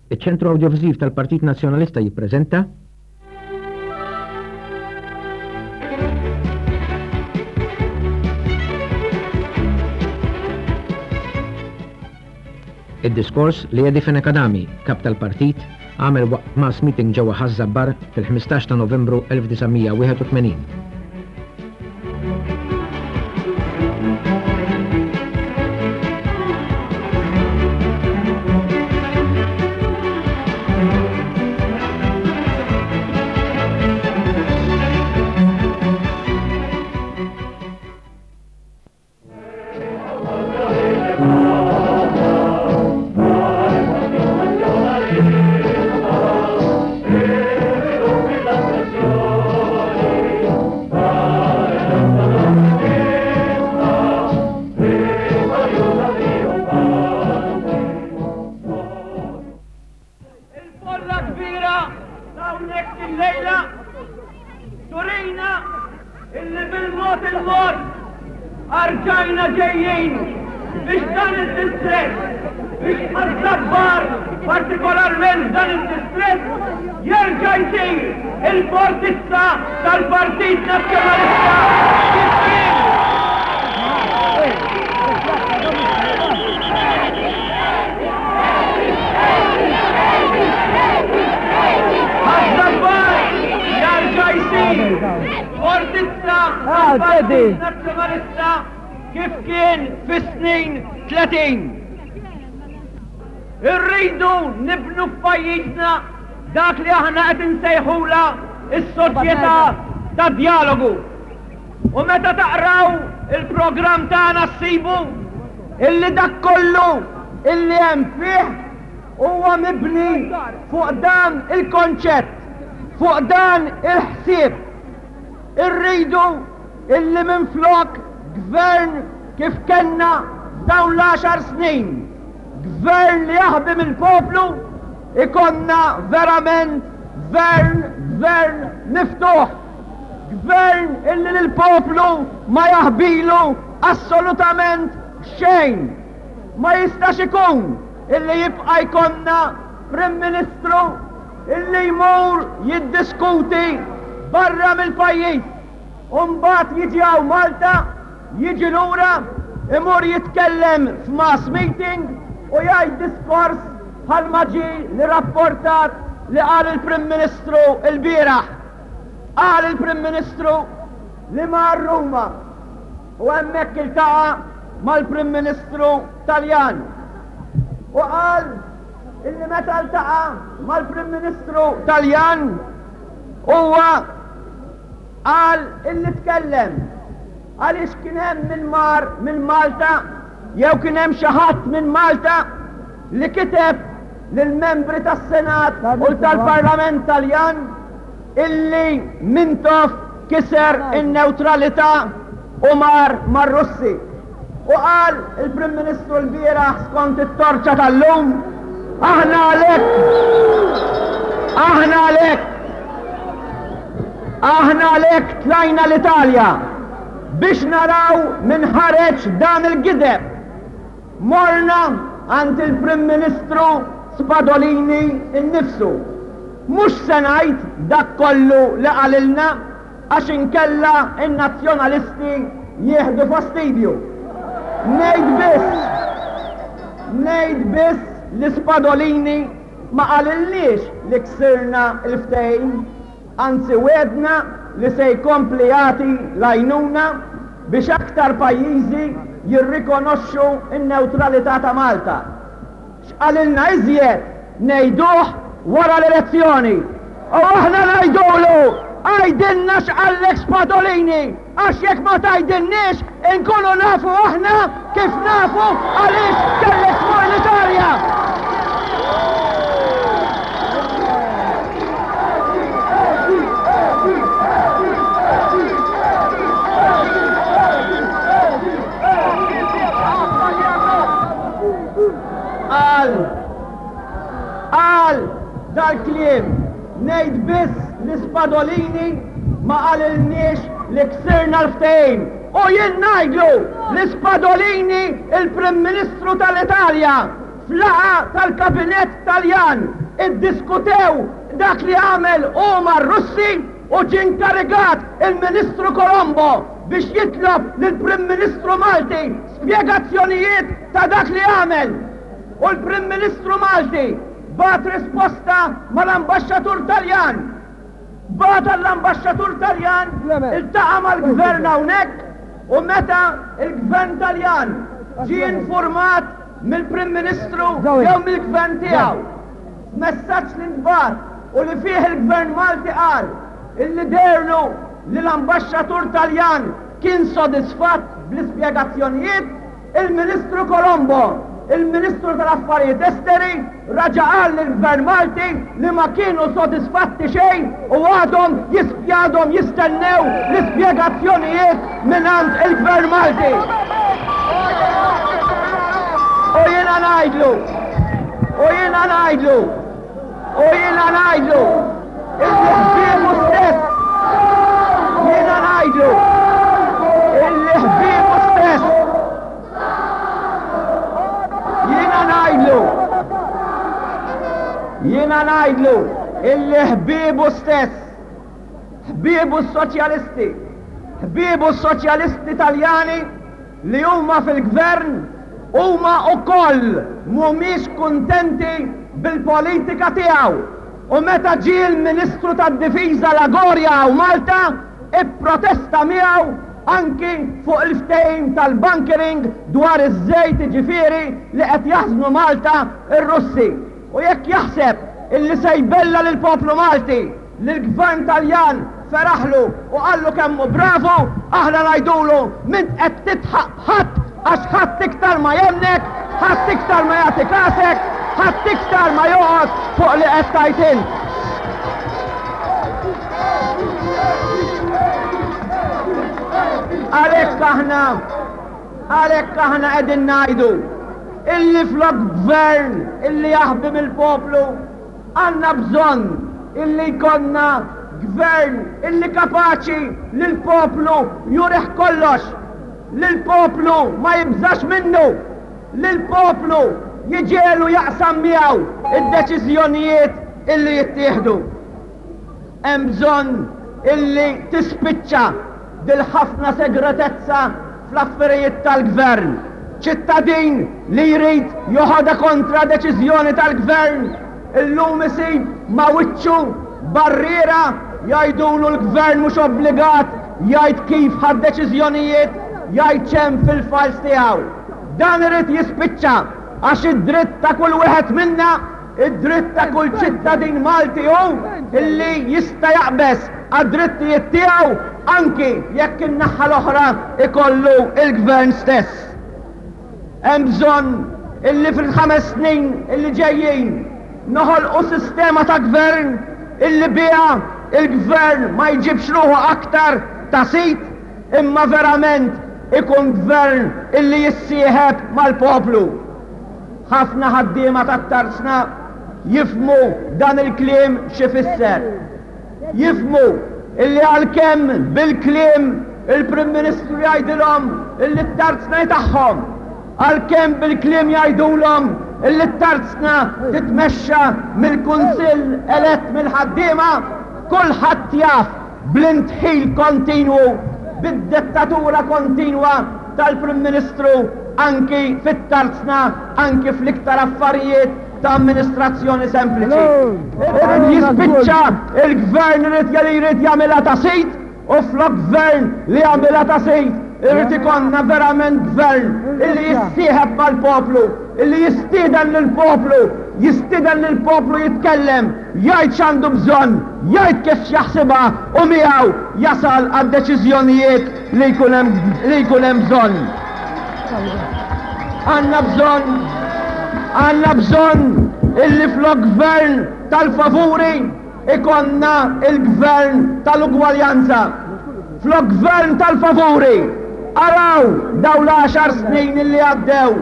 Iċ-Ċentru Awdjoviżiv tal-Partit Nazzjonalista jippreżenta. Id-diskors li Eddie Fenech Adami, Kap tal-Partit, għamel waqt mass meeting ġewwa Ħaż-Żabbar fil-15 ta' Novembru 1981. Il-folla kbira ta' hawnhekk illejla turina illi bil-mod il-mod arġajna ġejjin biex dan id-distrett, biex Ħaż-Żabbar partikolarment dan id-distrett jerġa' jsir il-fortizza tal-Partit Nazzjonalista kif kien. Ħaż-Żabbar jarġa' jsir fortizza tal-Partit Nazzjonalista kif kien fis-snin 30. Irridu nibnu f'pajjiżna dak li aħna qed insejħulha s-soċjetà tad-djalogu. U meta taqraw il-programm tagħna ssibu illi dak kollu illi hemm fih huwa mibni fuq dan il-konċett, fuq dan il-ħsieb. Irridu illi minflok gvern kif kellna f'dawn l-għaxar snin, gvern li jaħbi mill-poplu, ikollna verament gvern, gvern miftuħ. Gvern illi lill-poplu ma jaħbilu assolutament xejn. Ma jistax ikun illi jibqa' jkollna Prim Ministru illi jmur jiddiskuti barra mill-pajjiż u mbagħad jiġi hawn Malta, jiġi lura, imur jitkellem f'mass meeting u jgħid diskors bħalma ġie li rapportat li qal il-Prim Ministru lbieraħ. Qal il-Prim Ministru li mar Ruma u hemmhekk iltaqa' mal-Prim Ministru Taljan. U qal illi meta ltaqa' mal-Prim Ministru Taljan huwa qal illi tkellem għaliex kien hemm min mar minn Malta jew kien hemm xi ħadd minn Malta li kiteb lill-membri tas-Senat u tal-Parlament Taljan illi Mintoff kiser in-newtralità u mar mar-Russi. U qal il-Prim Ministru lbieraħ skont it-Torċa tal-lum, aħna għalhekk, aħna għalhekk, aħna għalhekk tlajna l-Italja biex naraw min ħareġ dan il-gideb. Morna għand il-Prim Ministru Spadolini nnifsu. Mhux se ngħid dak kollu li qalilna għax inkella n-Nazzjonalisti jieħdu fastidju. Ngħid biss, ngħid biss li Spadolini ma qalilniex li ksirna l-ftehim. Anzi wegħdna li se jkompli jagħti l-għajnuna biex aktar pajjiżi jirrikonoxxu n-newtralità ta' Malta. X'qalilna iżjed ngħiduh wara l-elezzjoni. U aħna ngħidulu, għidilna x'qallek Spadolini għax jekk ma tgħidilniex inkunu nafu aħna kif nafu għaliex kellek tmur l-Italja. Qal, qal dal-kliem Ngħid biss li Spadolini ma qalilniex li ksirna l-ftehim. U jien ngħidlu li Spadolini il-Prim Ministru tal-Italja. F'laqgħa tal-Kabinett Taljan iddiskutew dak li għamel hu mar-Russi u ġie nkarigat il-Ministru Colombo biex jitlob lill-Prim Ministru Malti spjegazzjonijiet ta' dak li għamel. U l-Prim Ministru Malti bagħat risposta mal-Ambaxxatur Taljan. Bagħat għall-Ambaxxatur Taljan, iltaqa' mal-Gvern hawnhekk u meta l-Gvern Taljan ġie infurmat mill-Prim Ministru jew mill-Gvern tiegħu, f'messaġġ li ntbagħat u li fih il-Gvern Malti qal illi deherlu li l-Ambaxxatur Taljan kien sodisfatt bl-ispjegazzjonijiet, Il-Ministru Colombo, il-Ministru tal-Affarijiet Esteri, raġa' qal lill-Gvern Malti li ma kienu sodisfatti xejn u għadhom għadhom jistennew l-ispjegazzjonijiet mingħand il-Gvern Malti. U jiena ngħidlu, u jiena ngħidlu, u jiena ngħidlu, illi ħbiebu stess, jiena ngħidlu, illi ħbiebu stess, jiena ngħidlu, jiena ngħidlu, illi ħbiebu stess, ħbiebu s-soċjalisti, ħbiebu s-soċjalisti Taljani li huma fil-gvern huma wkoll mhumiex kuntenti bil-politika tiegħu. U meta ġie l-Ministru tad-Difiża Lagoria hawn Malta, ipprotesta miegħu anki fuq il-ftehim tal-bunkering dwar iż-żejt jiġifieri li qed jaħżnu Malta r-Russi. U jekk jaħseb illi se jbella' lill-poplu Malti li l-Gvern Taljan feraħlu u qallu kemm hu bravu, aħna ngħidulu m'int qed tidħaq b'ħadd għax ħadd iktar ma jemmnek, ħadd iktar ma jagħti kasek, ħadd iktar ma joqgħod fuq li qed tgħid int. Għalhekk aħna għalhekk aħna qegħdin ngħidu illi flok gvern illi jaħbi mill-poplu Għandna bżonn illi jkollna Gvern illi kapaċi lill-poplu jurih kollox, li l-poplu ma jibżax minnu, li l-poplu jġegħlu jaqsam miegħu d-deċiżjonijiet illi jittieħdu. Hemm bżonn illi tispiċċa dil-ħafna segretezza fl-affarijiet tal-Gvern. Ċittadin li jrid joħodha kontra deċiżjoni tal-Gvern illum isib ma' wiċċu barriera jgħidulu l-Gvern mhux obbligat jgħid kif ħa d-deċiżjonijiet, jgħid x'hemm fil-files tiegħu. Dan irid jispiċċa għax id-dritt ta' kull wieħed minna Id-dritt ta' kull ċittadin Malti hu li jista' jaqbeż għad-drittijiet tiegħu anki jekk in-naħa l-oħra jkollu l-Gvern stess. Hemm bżonn illi fil-ħames snin illi ġejjin noħolqu sistema ta' Gvern illi biha l-Gvern ma jġibx ruħu aktar ta' sid imma verament ikun Gvern illi jissieħeb mal-poplu. Ħafna ħaddiema tat-tarzna jifhmu dan il-kliem x'ifisser. Jifhmu illi għalkemm bil-kliem il-Prim Ministru jgħidilhom illi t-tarzna hi tagħhom, għalkemm bil-kliem jgħidulhom illi t-tarzna titmexxa mill-Kunsill elett mill-ħaddiema, kulħadd jaf bl-indħil kontinwu, bid-dettatura kontinwa tal-Prim Ministru anki fit-tarzna, anki fl-iktar affarijiet ta' amministrazzjoni sempliċi. Irid jispiċċa il-Gvern irid li jrid jagħmilha ta' sid u flok Gvern li jagħmilha ta' sid irid ikollna verament Gvern illi jissieħeb mal-poplu, illi jistieden lill-poplu, jistieden lill-poplu jitkellem, jgħid x'għandu bżonn, jgħid kif jaħsibha u miegħu jasal għad-deċiżjonijiet li jkun hemm li jkun hemm bżonn. Għandna bżonn għandna bżonn illi flok gvern tal-favuri ikonna il-gvern tal-ugwaljanza. Flok gvern tal-favuri araw daw l-għaxar snin illi għaddew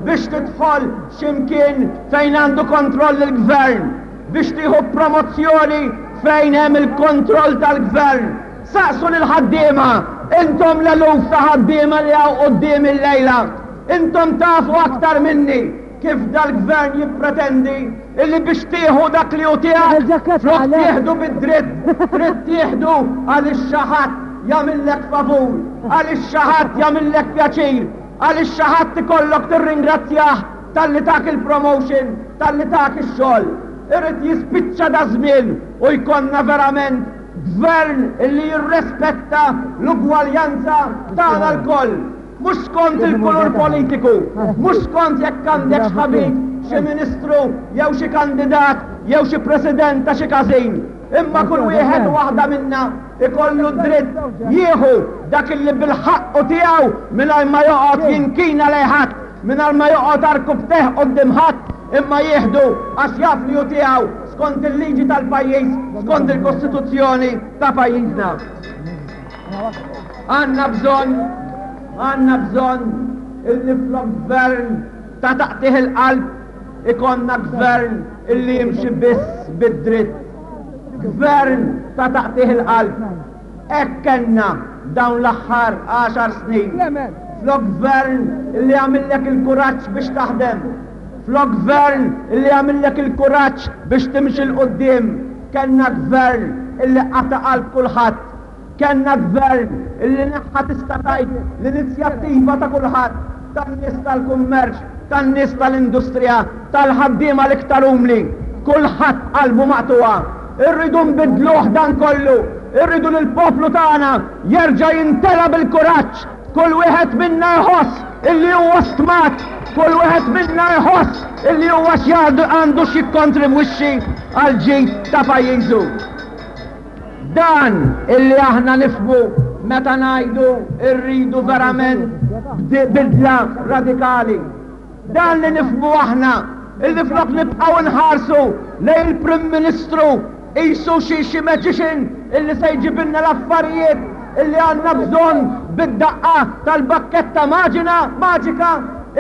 biex tidħol x'imkien fejn għandu kontroll il-gvern, biex tieħu promozzjoni fejn hemm il-kontroll tal-gvern. Saqsu lill-ħaddiema, intom l-eluf ta' ħaddiema li hawn quddiemi llejla, intom tafu aktar minni. kif dal-Gvern jippretendi illi biex tieħu dak li hu tiegħek, flok tieħdu bid-dritt, trid tieħdu għaliex xi ħadd jagħmillek favur, għaliex xi ħadd jagħmillek pjaċir, għaliex xi ħadd ikollok tirringrazzjah talli tak il-promotion, talli tak ix-xogħol. Irid jispiċċa daż-żmien u jkollna verament Gvern illi jirrespetta l-ugwaljanza tagħna lkoll. Mhux skont il-kulur politiku, mhux skont jekk għandekx ħabib xi ministru jew xi kandidat jew xi president ta' xi każin, imma kull wieħed u waħda minna jkollu d-dritt jieħu dak illi bil-ħaqq hu tiegħu mingħajr ma joqgħod jinkina lejn ħadd, mingħajr ma joqgħod għarkupptejh quddiem ħadd, imma jieħdu għax jaf li hu tiegħu skont il-liġi tal-pajjiż, skont il-Kostituzzjoni ta' pajjiżna. Għandna bżonn, għandna bżonn illi flok gvern ta' taqtigħ il-qalb ikollna gvern illi jimxi biss bid-dritt. Gvern ta' taqtigħ il-qalb. Hekk kellna dawn l-aħħar għaxar snin. Flok gvern illi jagħmillek il-kuraġġ biex taħdem. Flok gvern illi jagħmillek il-kuraġġ biex timxi 'l quddiem, kellna gvern illi qata' qalb kulħadd. Kellna gvern illi neħħa tista' tgħid l-inizjattiva ta' kulħadd, tan-nies tal-kummerċ, tan-nies tal-industrija, tal-ħaddiema l-iktar umli. Kulħadd qalbu maqtugħa. Irridu nbiddluh dan kollu. Irridu li l-poplu tagħna jerġa' jimtela bil-kuraġġ. Kull wieħed minna jħoss illi huwa stmat, kull wieħed minna jħoss illi huwa għandu x'jikkontribwixxi għall-ġid ta' pajjiżu. Dan illi aħna nifhmu meta ngħidu rridu verament bidla radikali. Dan li nifhmu aħna illi flok nibqgħu nħarsu lejn il-Prim Ministru qisu xi xi magician illi se jġibilna l-affarijiet illi għandna bżonn bid-daqqa tal-bakketta maġina maġika,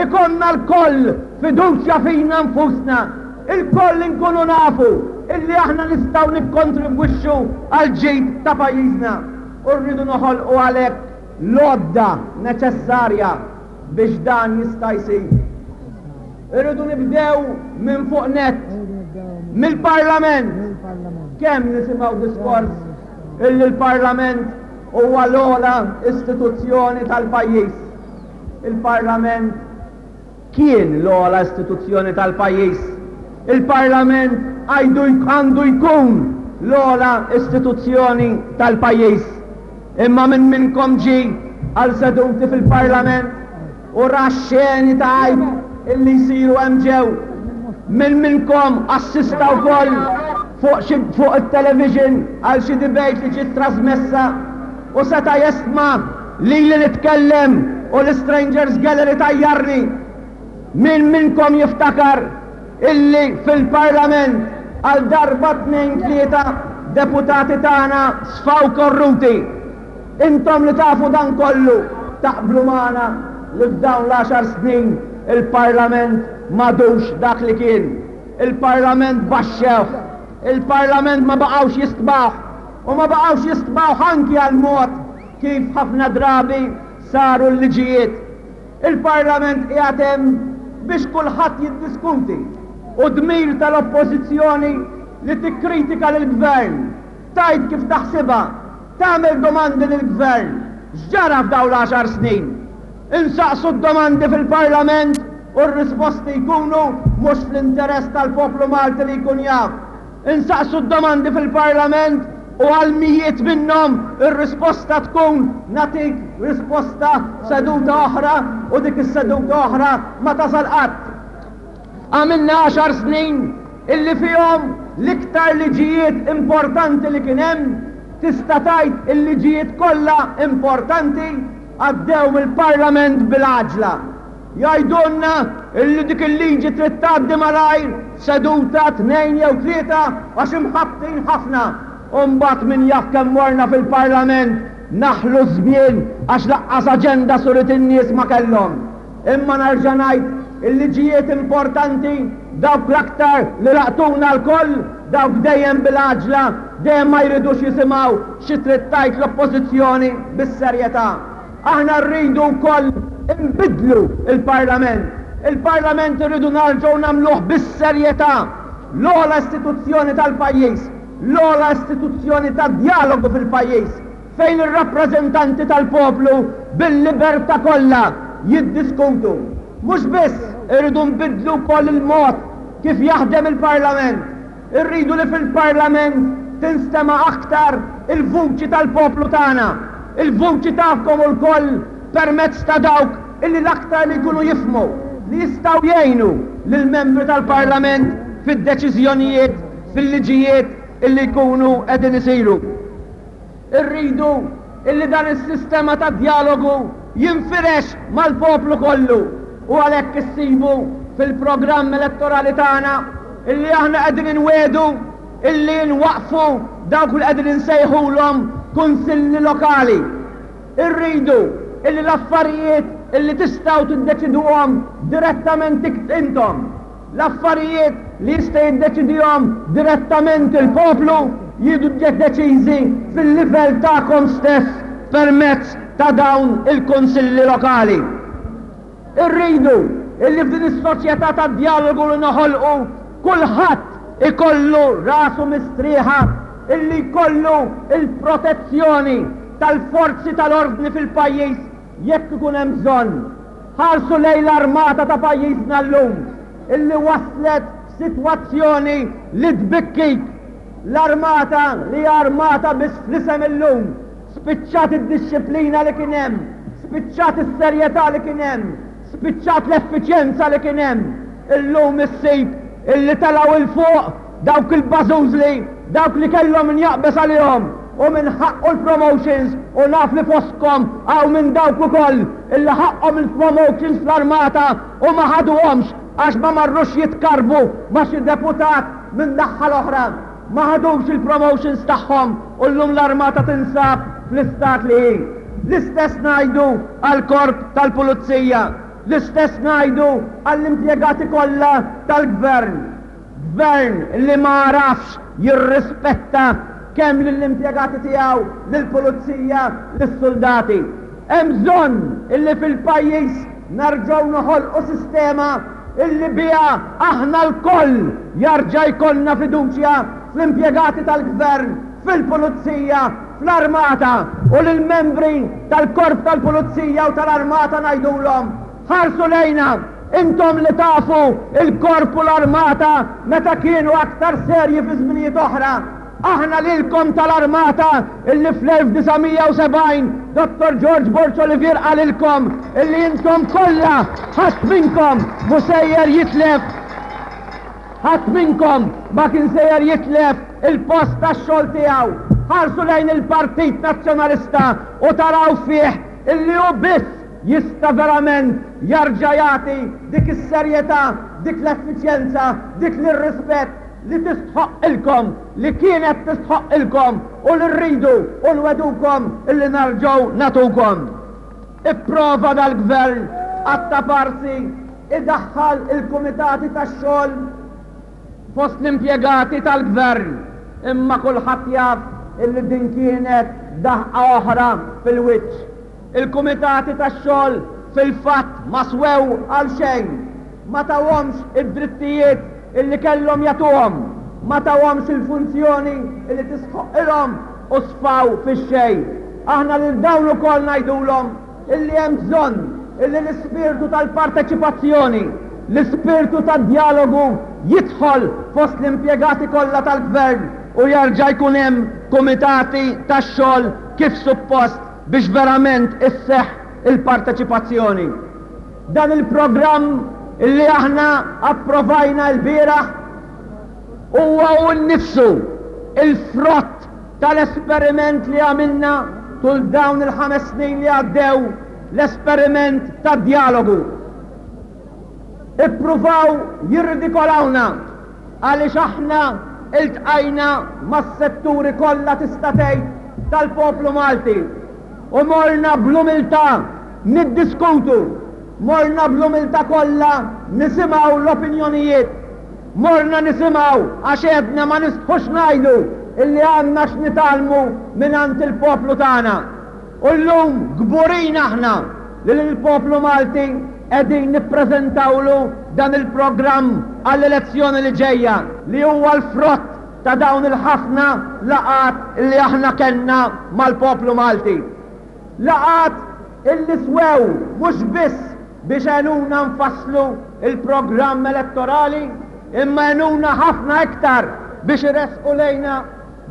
ikollna lkoll fiduċja fina nfusna, ilkoll inkunu nafu illi aħna nistgħu nikkontribwixxu għall-ġid ta' pajjiżna u rridu noħolqu għalhekk l-għodda neċessarja biex dan jista' jsir. Irridu nibdew minn fuq nett, mill-Parlament. Kemm nisimgħu diskors illi l-Parlament huwa l-ogħla istituzzjoni tal-pajjiż. Il-Parlament kien l-ogħla istituzzjoni tal-pajjiż. Il-Parlament għandu jkun l-ogħla istituzzjoni tal-pajjiż. Imma min minnkom ġie għal seduti fil-Parlament u ra x-xeni ta' għajb illi jsiru hemm ġew? Min minnkom assista wkoll fuq xi fuq it-television għal xi debate li ġiet trasmessa u seta' jestma' lili nitkellem u l-Strangers Gallery tajjarni? Min minnkom jiftakar illi fil-Parlament għal darba tnejn tlieta deputati tagħna sfaw korruti? Intom li tafu dan kollu taqblu magħna li f'dawn l-għaxar snin il-Parlament m'għadux dak li kien. Il-Parlament baxxewh. Il-Parlament ma baqgħux jistmawh. U ma baqgħux jistmawh anki għall-mod kif ħafna drabi saru l-liġijiet. Il-Parlament qiegħed hemm biex kulħadd jiddiskuti. Hu dmir tal-Oppożizzjoni li tikkritika lill-Gvern, tgħid kif taħsibha, tagħmel domandi lill-Gvern. X'ġara f'dawn l-għaxar snin? Insaqsu d-domandi fil-Parlament u r-risposti jkunu mhux fl-interess tal-poplu Malti li jkun jaf. Insaqsu d-domandi fil-Parlament u għal mijiet minnhom ir-risposta tkun nagħtik risposta f'seduta oħra u dik is-seduta oħra ma tasal qatt. Għamilna għaxar snin illi fihom l-iktar liġijiet importanti li kien hemm, tista' tgħid il-liġijiet kollha importanti għaddew mill-Parlament bil-għaġla. Jgħidulna illi dik il-liġi trid tgħaddi malajr f'seduta, tnejn jew tlieta għax imħabbtin ħafna. U mbagħad min jaf kemm morna fil-Parlament naħlu ż-żmien għax laqqas aġenda suret in-nies ma kellhom. Imma nerġa' ngħid, il-liġijiet importanti, dawk l-aktar li laqtuna lkoll, dawk dejjem bil-għaġla, dejjem ma jridux jisimgħu xi trid tgħid l-Oppożizzjoni bis-serjetà. Aħna rridu wkoll inbiddlu l-Parlament. Il-Parlament irridu narġgħu nagħmluh bis-serjetà l-ogħla istituzzjoni tal-pajjiż, l-ogħla istituzzjoni ta' djalogu fil-pajjiż, fejn ir-rappreżentanti tal-poplu bil-libertà kollha jiddiskutu. Mhux biss, irridu nbiddlu wkoll il-mod kif jaħdem il-Parlament. Irridu li fil-Parlament tinstema' aktar il-vuċi tal-poplu tagħna, il-vuċi tagħkom lkoll permezz ta' dawk illi l-aktar li jkunu jifhmu, li jistgħu jgħinu lill-membri tal-Parlament fid-deċiżjonijiet, fil-liġijiet illi jkunu qegħdin isiru. Irridu illi dan is-sistema ta' djalogu jinfirex mal-poplu kollu u għalhekk issibu fil-programm elettorali tagħna illi aħna qegħdin inwiegħdu illi nwaqqfu dawk li qegħdin insejħulhom kunsilli lokali. Irridu illi l-affarijiet illi tistgħu tiddeċiduhom direttament intom, L-affarijiet li jista' jiddeċidihom direttament il-poplu jiġu deċiżi fil-livell tagħkom stess permezz ta' dawn il-kunsilli lokali. Irridu illi f'din is-soċjetà ta' djalogu li noħolqu kulħadd ikollu rasu mistrieħa illi jkollu l-protezzjoni tal-forzi tal-ordni fil-pajjiż jekk ikun hemm bżonn. Ħarsu lejn l-armata ta' pajjiżna llum illi waslet f'sitwazzjoni li tbikkik. L-armata li hija armata biss fl-isem illum, spiċċat id-dixxiplina li kien hemm, spiċċat is-serjetà li kien hemm, spiċċat l-effiċjenza li kien hemm. Illum issib illi telgħu 'l fuq dawk il-bażużli, dawk li kellhom min jaqbeż għalihom u min ħaqqu l-promotions u naf li fostkom hawn minn dawk ukoll illi ħaqqhom il-promotions fl-armata u ma ħaduhomx għax ma marrux jitkarrbu ma' xi deputat minn naħha l-oħra. Ma ħadux il-promotions tagħhom u llum l-armata tinsab fl-istat li hi. L-istess ngħidu għall-korp tal-pulizija. L-istess ngħidu għall-impjegati kollha tal-Gvern. Gvern li ma għarafx jirrispetta kemm lill-impjegati tiegħu, lill-pulizija, lis-suldati. Hemm bżonn illi fil-pajjiż nerġgħu noħolqu sistema illi biha aħna lkoll jarġa' jkollna fiduċja fl-impjegati tal-Gvern, fil-pulizija, fl-armata u lill-membri tal-Korp tal-Pulizija u tal-Armata ngħidulhom, ħarsu lejna, intom li tafu l-Korp u l-Armata meta kienu aktar serji fi żminijiet oħra. Aħna lilkom tal-Armata illi fl-1970 Dottor George Borg Olivier qalilkom illi intom kollha ħadd minnkom mhu sejjer jitlef Ħadd minnkom ma kien sejjer jitlef il-post tax-xogħol tiegħu. Ħarsu lejn il-Partit Nazzjonalista u taraw fih illi hu biss jista' verament jarġa' jagħti dik is-serjetà, dik l-effiċjenza, dik l-rispett li tistħoqqilkom, li kienet tistħoqqilkom u li rridu u nwegħdukom illi narġgħu nagħtukom. Ipprova dal-Gvern qatta' parsi idaħħal il-kumitati tax-xogħol fost l-impjegati tal-Gvern, imma kulħadd jaf illi din kienet daħqa oħra fil-wiċċ. Il-kumitati tax-xogħol fil-fatt ma swew għal xejn, ma tawhomx id-drittijiet illi kellhom jagħtuhom, ma tawhomx il-funzjoni illi tistħoqqilhom u sfaw fix-xejn. Aħna lil dawn ukoll ngħidulhom illi hemm bżonn illi l-ispirtu tal-parteċipazzjoni, l-ispirtu tad-djalogu jidħol fost l-impjegati kollha tal-Gvern u jerġa' jkun hemm kumitati tax-xogħol kif suppost biex verament isseħħ il-parteċipazzjoni. Dan il-programm illi aħna approvajna lbieraħ huwa hu nnifsu l-frott tal-esperiment li għamilna tul dawn il-ħames snin li għaddew, l-esperiment tad-djalogu. Ippruvaw jirridikolawna għaliex aħna iltqajna mas-setturi kollha tista' tgħid tal-poplu Malti u morna bl-umiltà niddiskutu, morna bl-umiltà kollha nisimgħu l-opinjonijiet. Morna nisimgħu għax għedna ma nistħux ngħidu illi għandna x'nitgħallmu mingħand il-poplu tagħna. U llum kburin aħna li lill-poplu Malti qegħdin nippreżentawlu dan il-programm għall-elezzjoni li ġejja li huwa l-frott ta' dawn il-ħafna laqgħat li aħna kellna mal-poplu Malti. Laqgħat illi swew mhux biss biex għenuna nfasslu l-programm elettorali imma għenuna ħafna iktar biex iressqu lejna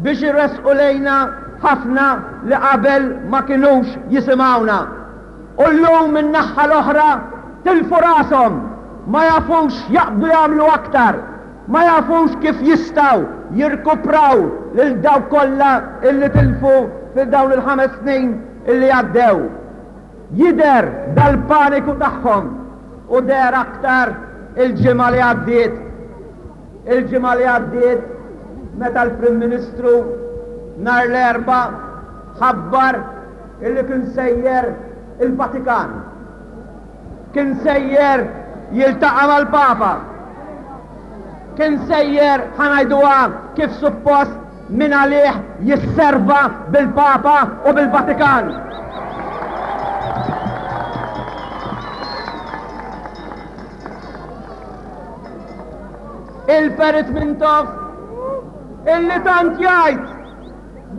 biex iressqu lejna ħafna li qabel ma kinux jisimgħuna. U llum min-naħha l-oħra tilfu rashom, ma jafux x'jaqbdu jagħmlu aktar, ma jafux kif jistgħu jirkupraw lil dawk kollha illi tilfu fil dawn il-ħames snin illi għaddew. Jidher dal-paniku tagħhom u deher aktar il-ġimgħa li għaddiet. Il-ġimgħa li għaddiet meta l-Prim Ministru nhar l-Erbgħa ħabbar illi kien sejjer il-Vatikan. Kien sejjer jiltaqa' mal-Papa. Kien sejjer, ħa ngħiduha kif suppost, min għalih jisserva bil-Papa u bil-Vatikan. Il-Perit Mintoff illi tant jgħid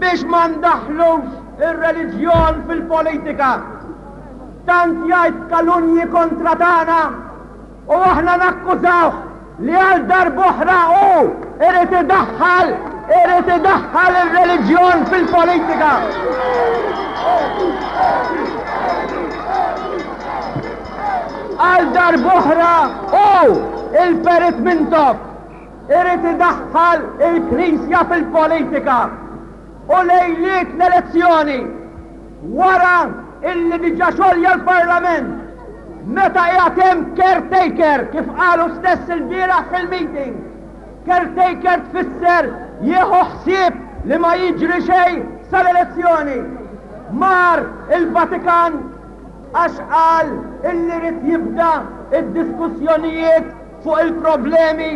biex ma ndaħħlux ir-reliġjon fil-politika. Tant jgħid kalunji kontra tagħna u aħna nakkużawh li għal darb'oħra hu irid idaħħal irid idaħħal ir-reliġjon fil-politika. Għal darb'oħra hu il-Perit Mintoff irid idaħħal il-Knisja fil-politika u lejliet l-elezzjoni wara illi diġà xolja l-Parlament meta qiegħed hemm caretaker kif qalu stess ilbieraħ fil-meeting. Caretaker tfisser jieħu ħsieb li ma jiġri xejn sal-elezzjoni. Mar il-Vatikan għax qal illi ried jibda d-diskussjonijiet fuq il-problemi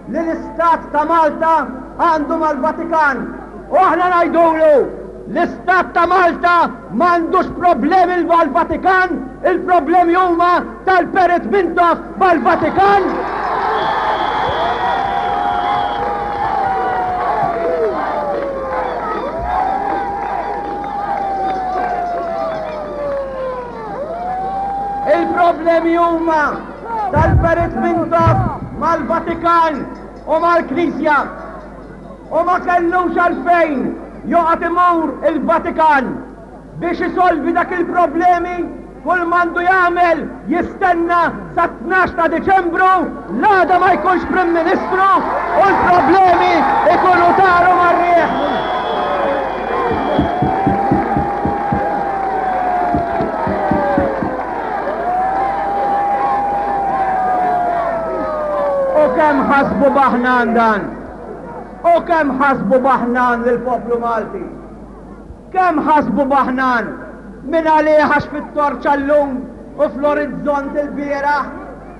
li l-Istat ta' Malta għandu mal-Vatikan. U aħna ngħidulu, l-Istat ta' Malta m'għandux problemi mal-Vatikan, il-problemi huma tal-Perit Mintoff mal-Vatikan. Il-problemi huma tal-Perit Mintoff mal-Vatikan u mal-Knisja u ma kellux għalfejn joqgħod imur il-Vatikan biex isolvi dak il-problemi kull m'għandu jagħmel jistenna sat-12 ta' Diċembru l-għada ma jkunx Prim Ministru u l-problemi ikunu taru mar-riħ. U kemm ħasbu baħnan dan? U kemm ħasbu baħnan lill-poplu Malti? Kemm ħasbu baħnan minn għalih għax fit-torċa llum u fl-orizzont ilbieraħ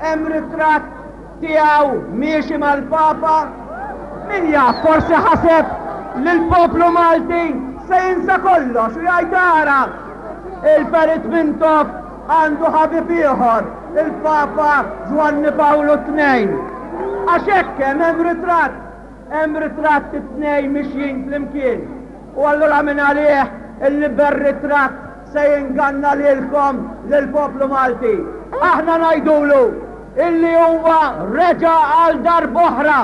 hemm ritratt tiegħu miexi mal-Papa? Min jaf forsi ħaseb li l-poplu Malti se jinsa kollox u jgħid ara il-Perit Mintoff għandu ħabib ieħor, il-Papa Ġwanni Pawlu II. Għax hekk hemm hemm ritratt, hemm ritratt it-tnejn mixjin flimkien. U allura minn għalih illi ber-ritratt se jinganna lilkom lill-poplu Malti. Aħna ngħidulu illi huwa reġa' għal darb'oħra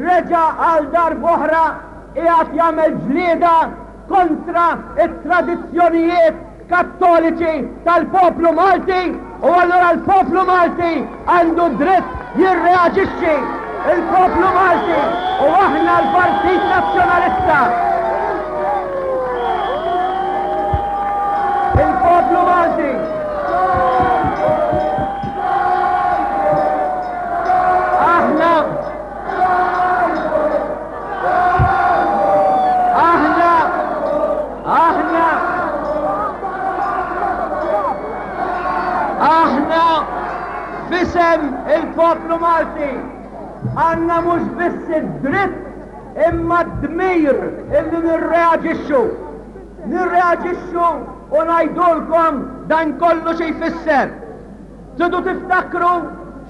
reġa' għal darb'oħra qiegħed jagħmel ġlieda kontra t-tradizzjonijiet Kattoliċi tal-poplu Malti u allura l-poplu Malti għandu dritt jirreaġixxi. Il-poplu Malti u aħna l-Partit Nazzjonalista. Il-poplu Malti. Aħna Aħna Aħna Aħna f'isem il-poplu Malti għandna mhux biss id-dritt imma d-dmir illi nirreaġixxu. Nirreaġixxu u ngħidulkom dan kollu xi jfisser. Tridu tiftakru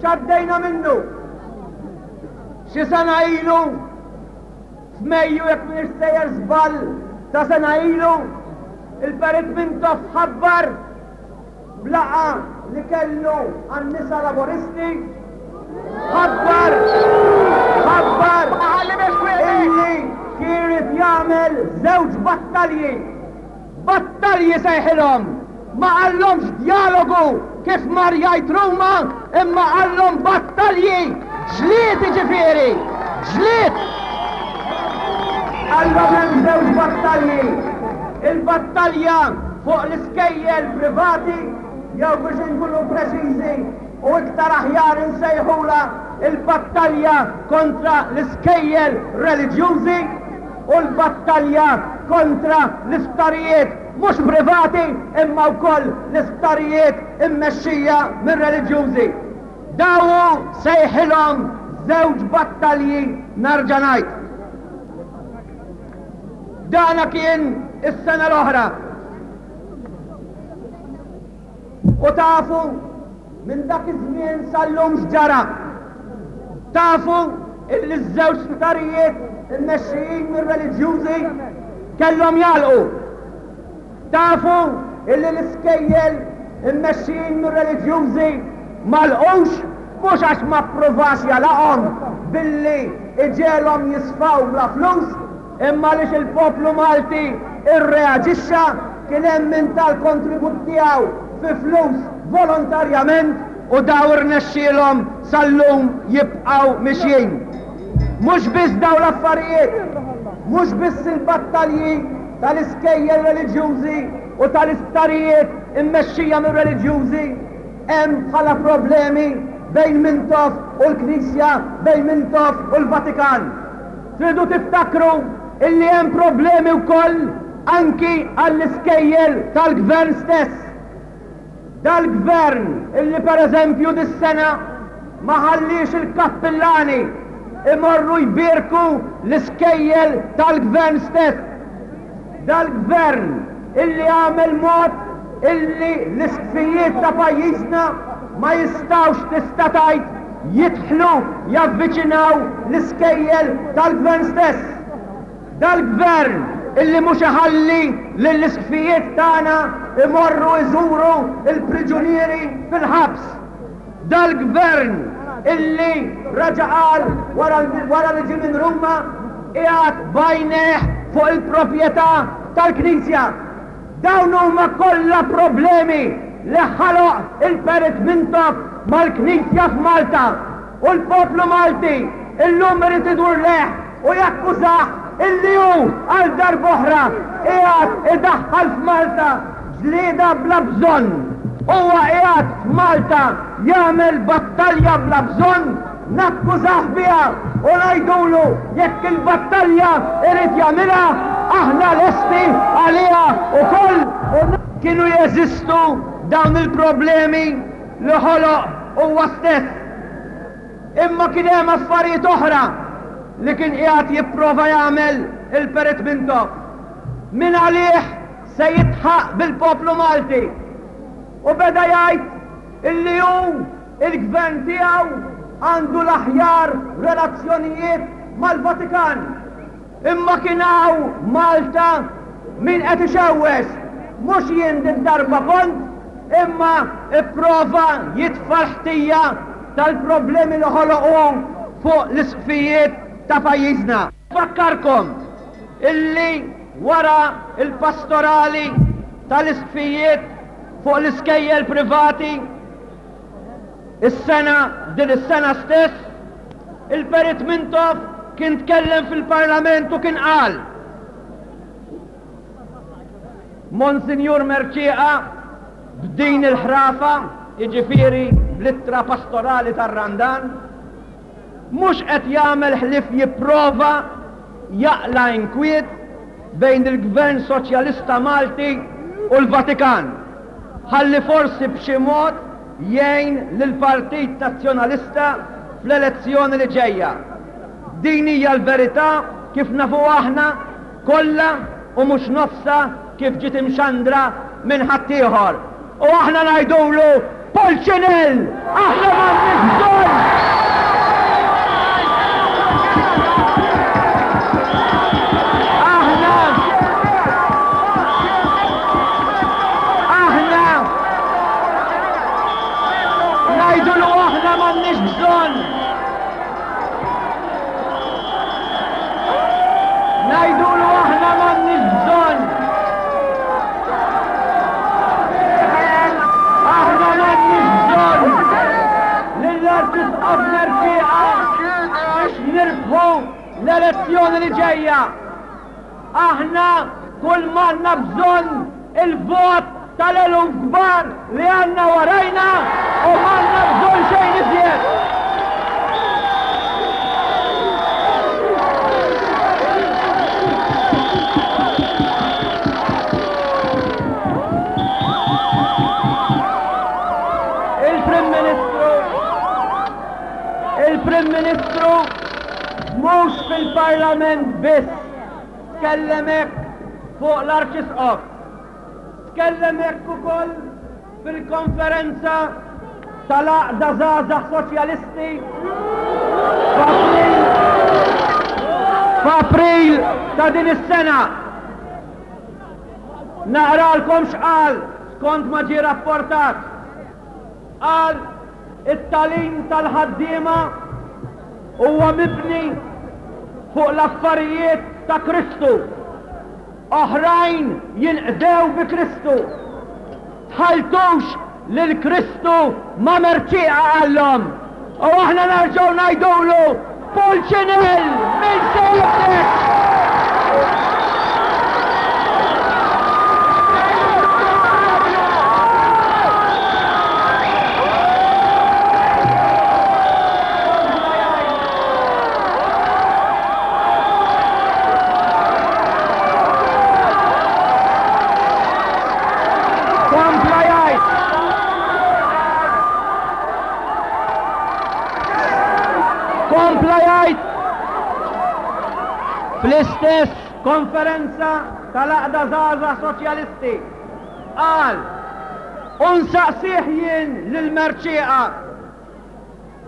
x'għaddejna minnu. Xi sena ilu, f'Mejju jekk m'iniex sejjer żball ta' sena ilu, il-Perit Mintoff ħabbar b'laqgħa li kellu għan-nisa Laburisti, ħabbar ħabbar illi kien irid jagħmel żewġ battalji. Battalji sejħilhom! Ma qallhomx djalogu kif mar jgħid Ruma imma qallhom battalji! Ġlied jiġifieri! Ġlied! Qallhom hemm żewġ battalji. Il-battalja fuq l-iskejjel privati jew biex inkunu preċiżi u iktar aħjar insejħulha il-battalja kontra l-iskejjel reliġjużi u l-battalja kontra l-isptarijiet mhux privati imma wkoll l-isptarijiet immexxija minn reliġjużi. Dawn hu sejħilhom żewġ battalji narġa' ngħid. Dana kien is-sena l-oħra. U tafu minn dak iż-żmien sal-lum x'ġara? Tafu illi ż-żewġ sptarijiet immexxijin mir-reliġjużi kellhom jagħlqu. Tafu illi l-iskejjel immexxijin mir-reliġjużi m'għalqux mhux għax ma ppruvax jagħlaqhom billi iġegħelhom jisfaw bla flus, Imma għaliex il-poplu Malti rreaġixxa, kien hemm min ta l-kontribut tiegħu fi flus volontarjament u dawn irnexxielhom sal-lum jibqgħu mixjin. Mhux biss dawn l-affarijiet, mhux biss il-battalji tal-iskejjel reliġjużi u tal-isptarijiet immexxija mir-reliġjużi hemm bħala problemi bejn Mintoff u l-Knisja, bejn Mintoff u l-Vatikan. Tridu tiftakru illi hemm problemi wkoll anki għall-iskejjel tal-Gvern stess. Dal-Gvern illi per eżempju dis-sena ma ħalliex il-kappillani imorru jbierku l-iskejjel tal-Gvern stess. Dal-Gvern illi għamel mod illi l-isqfijiet ta' pajjiżna ma jistgħux tista' tgħid jidħlu javviċinaw l-iskejjel tal-Gvern stess. Dal-Gvern illi mhux iħalli lill-isqfijiet tagħna imorru jżuru l-priġunieri fil-ħabs. Dal-Gvern illi reġa' qal wara li ġie minn Ruma qiegħed b'għajnejh fuq il-proprjetà tal-Knisja. Dawn huma kollha problemi li ħaloq il-Perit Mintoff mal-Knisja f'Malta u l-poplu Malti illum irid idur lejh u jakkużah illi hu għal darb'oħra qiegħed idaħħal f'Malta ġlieda bla bżonn. Huwa qiegħed f'Malta jagħmel battalja bla bżonn Nakkużah biha u ngħidulu jekk il-battalja irid jagħmilha, aħna lesti għaliha wkoll. Kienu jeżistu dawn il-problemi li ħoloq huwa stess. Imma kien hemm affarijiet oħra li kien qiegħed jipprova jagħmel il-Perit Mintoff. Mingħalih se jidħaq bil-poplu Malti. U beda jgħid illi hu Il-Gvern tiegħu għandu l-aħjar relazzjonijiet mal-Vatikan. Imma kien hawn Malta min qed ixewwex, mhux jien did-darba kont, imma ipprova jitfa' l-ħtija tal-problemi li ħoloq hu fuq l-isqfijiet ta' pajjiżna. Nfakkarkom illi wara l-pastorali tal-isqfijiet fuq l-iskejjel privati, Is-sena, din is-sena stess, il-Perit Mintoff kien tkellem fil-Parlament u kien qal, Monsinjur Mercieca b'din il-ħrafa, jiġifieri bl-ittra pastorali tar-Randan, mhux qed jagħmel ħlief jipprova jaqla' inkwiet bejn il-Gvern Soċjalista Malti u l-Vatikan, ħalli forsi b'xi mod jgħin lill-Partit Nazzjonalista fl-elezzjoni li ġejja. Din hija l-verità kif nafuha aħna kollha u mhux nofsha kif ġiet imxandra minn ħaddieħor. U aħna ngħidulu. Pulċinell! Aħna m'għandniex bżonn! Aħna Aħna ngħidulu aħna m'għandniex bżonn! Ngħidulu aħna m'għandniex bżonn. Aħna m'għandniex bżonn lill-Arċisqof Mercieca biex nirbħu l-elezzjoni li ġejja. Aħna kull m'għandna bżonn il-vot tal-eluf kbar li għandna warajna u m'għandna bżonn xejn iżjed. Il-Prim Ministru Il-Prim Ministru mhux fil-Parlament biss tkellem hekk fuq l-Arċisqof. Tkellem hekk ukoll fil-konferenza tal-Għaqda Żgħażagħ Soċjalisti f'April ta' din is-sena. Naqralkom x'qal skont ma ġie rapportat. Qal it-tagħlim tal-ħaddiema huwa mibni fuq l-affarijiet ta' Kristu. Oħrajn jinqdew bi Kristu. Tħalltux lil Kristu ma' merċieqa qallhom. U aħna nerġgħu ngħidulu Pulċinell min se jibdek! Kompla jgħid. Kompla jgħid. Fl-istess konferenza tal-Għaqda Żgħażagħ Soċjalisti qal u nsaqsih jien lil Mercieqa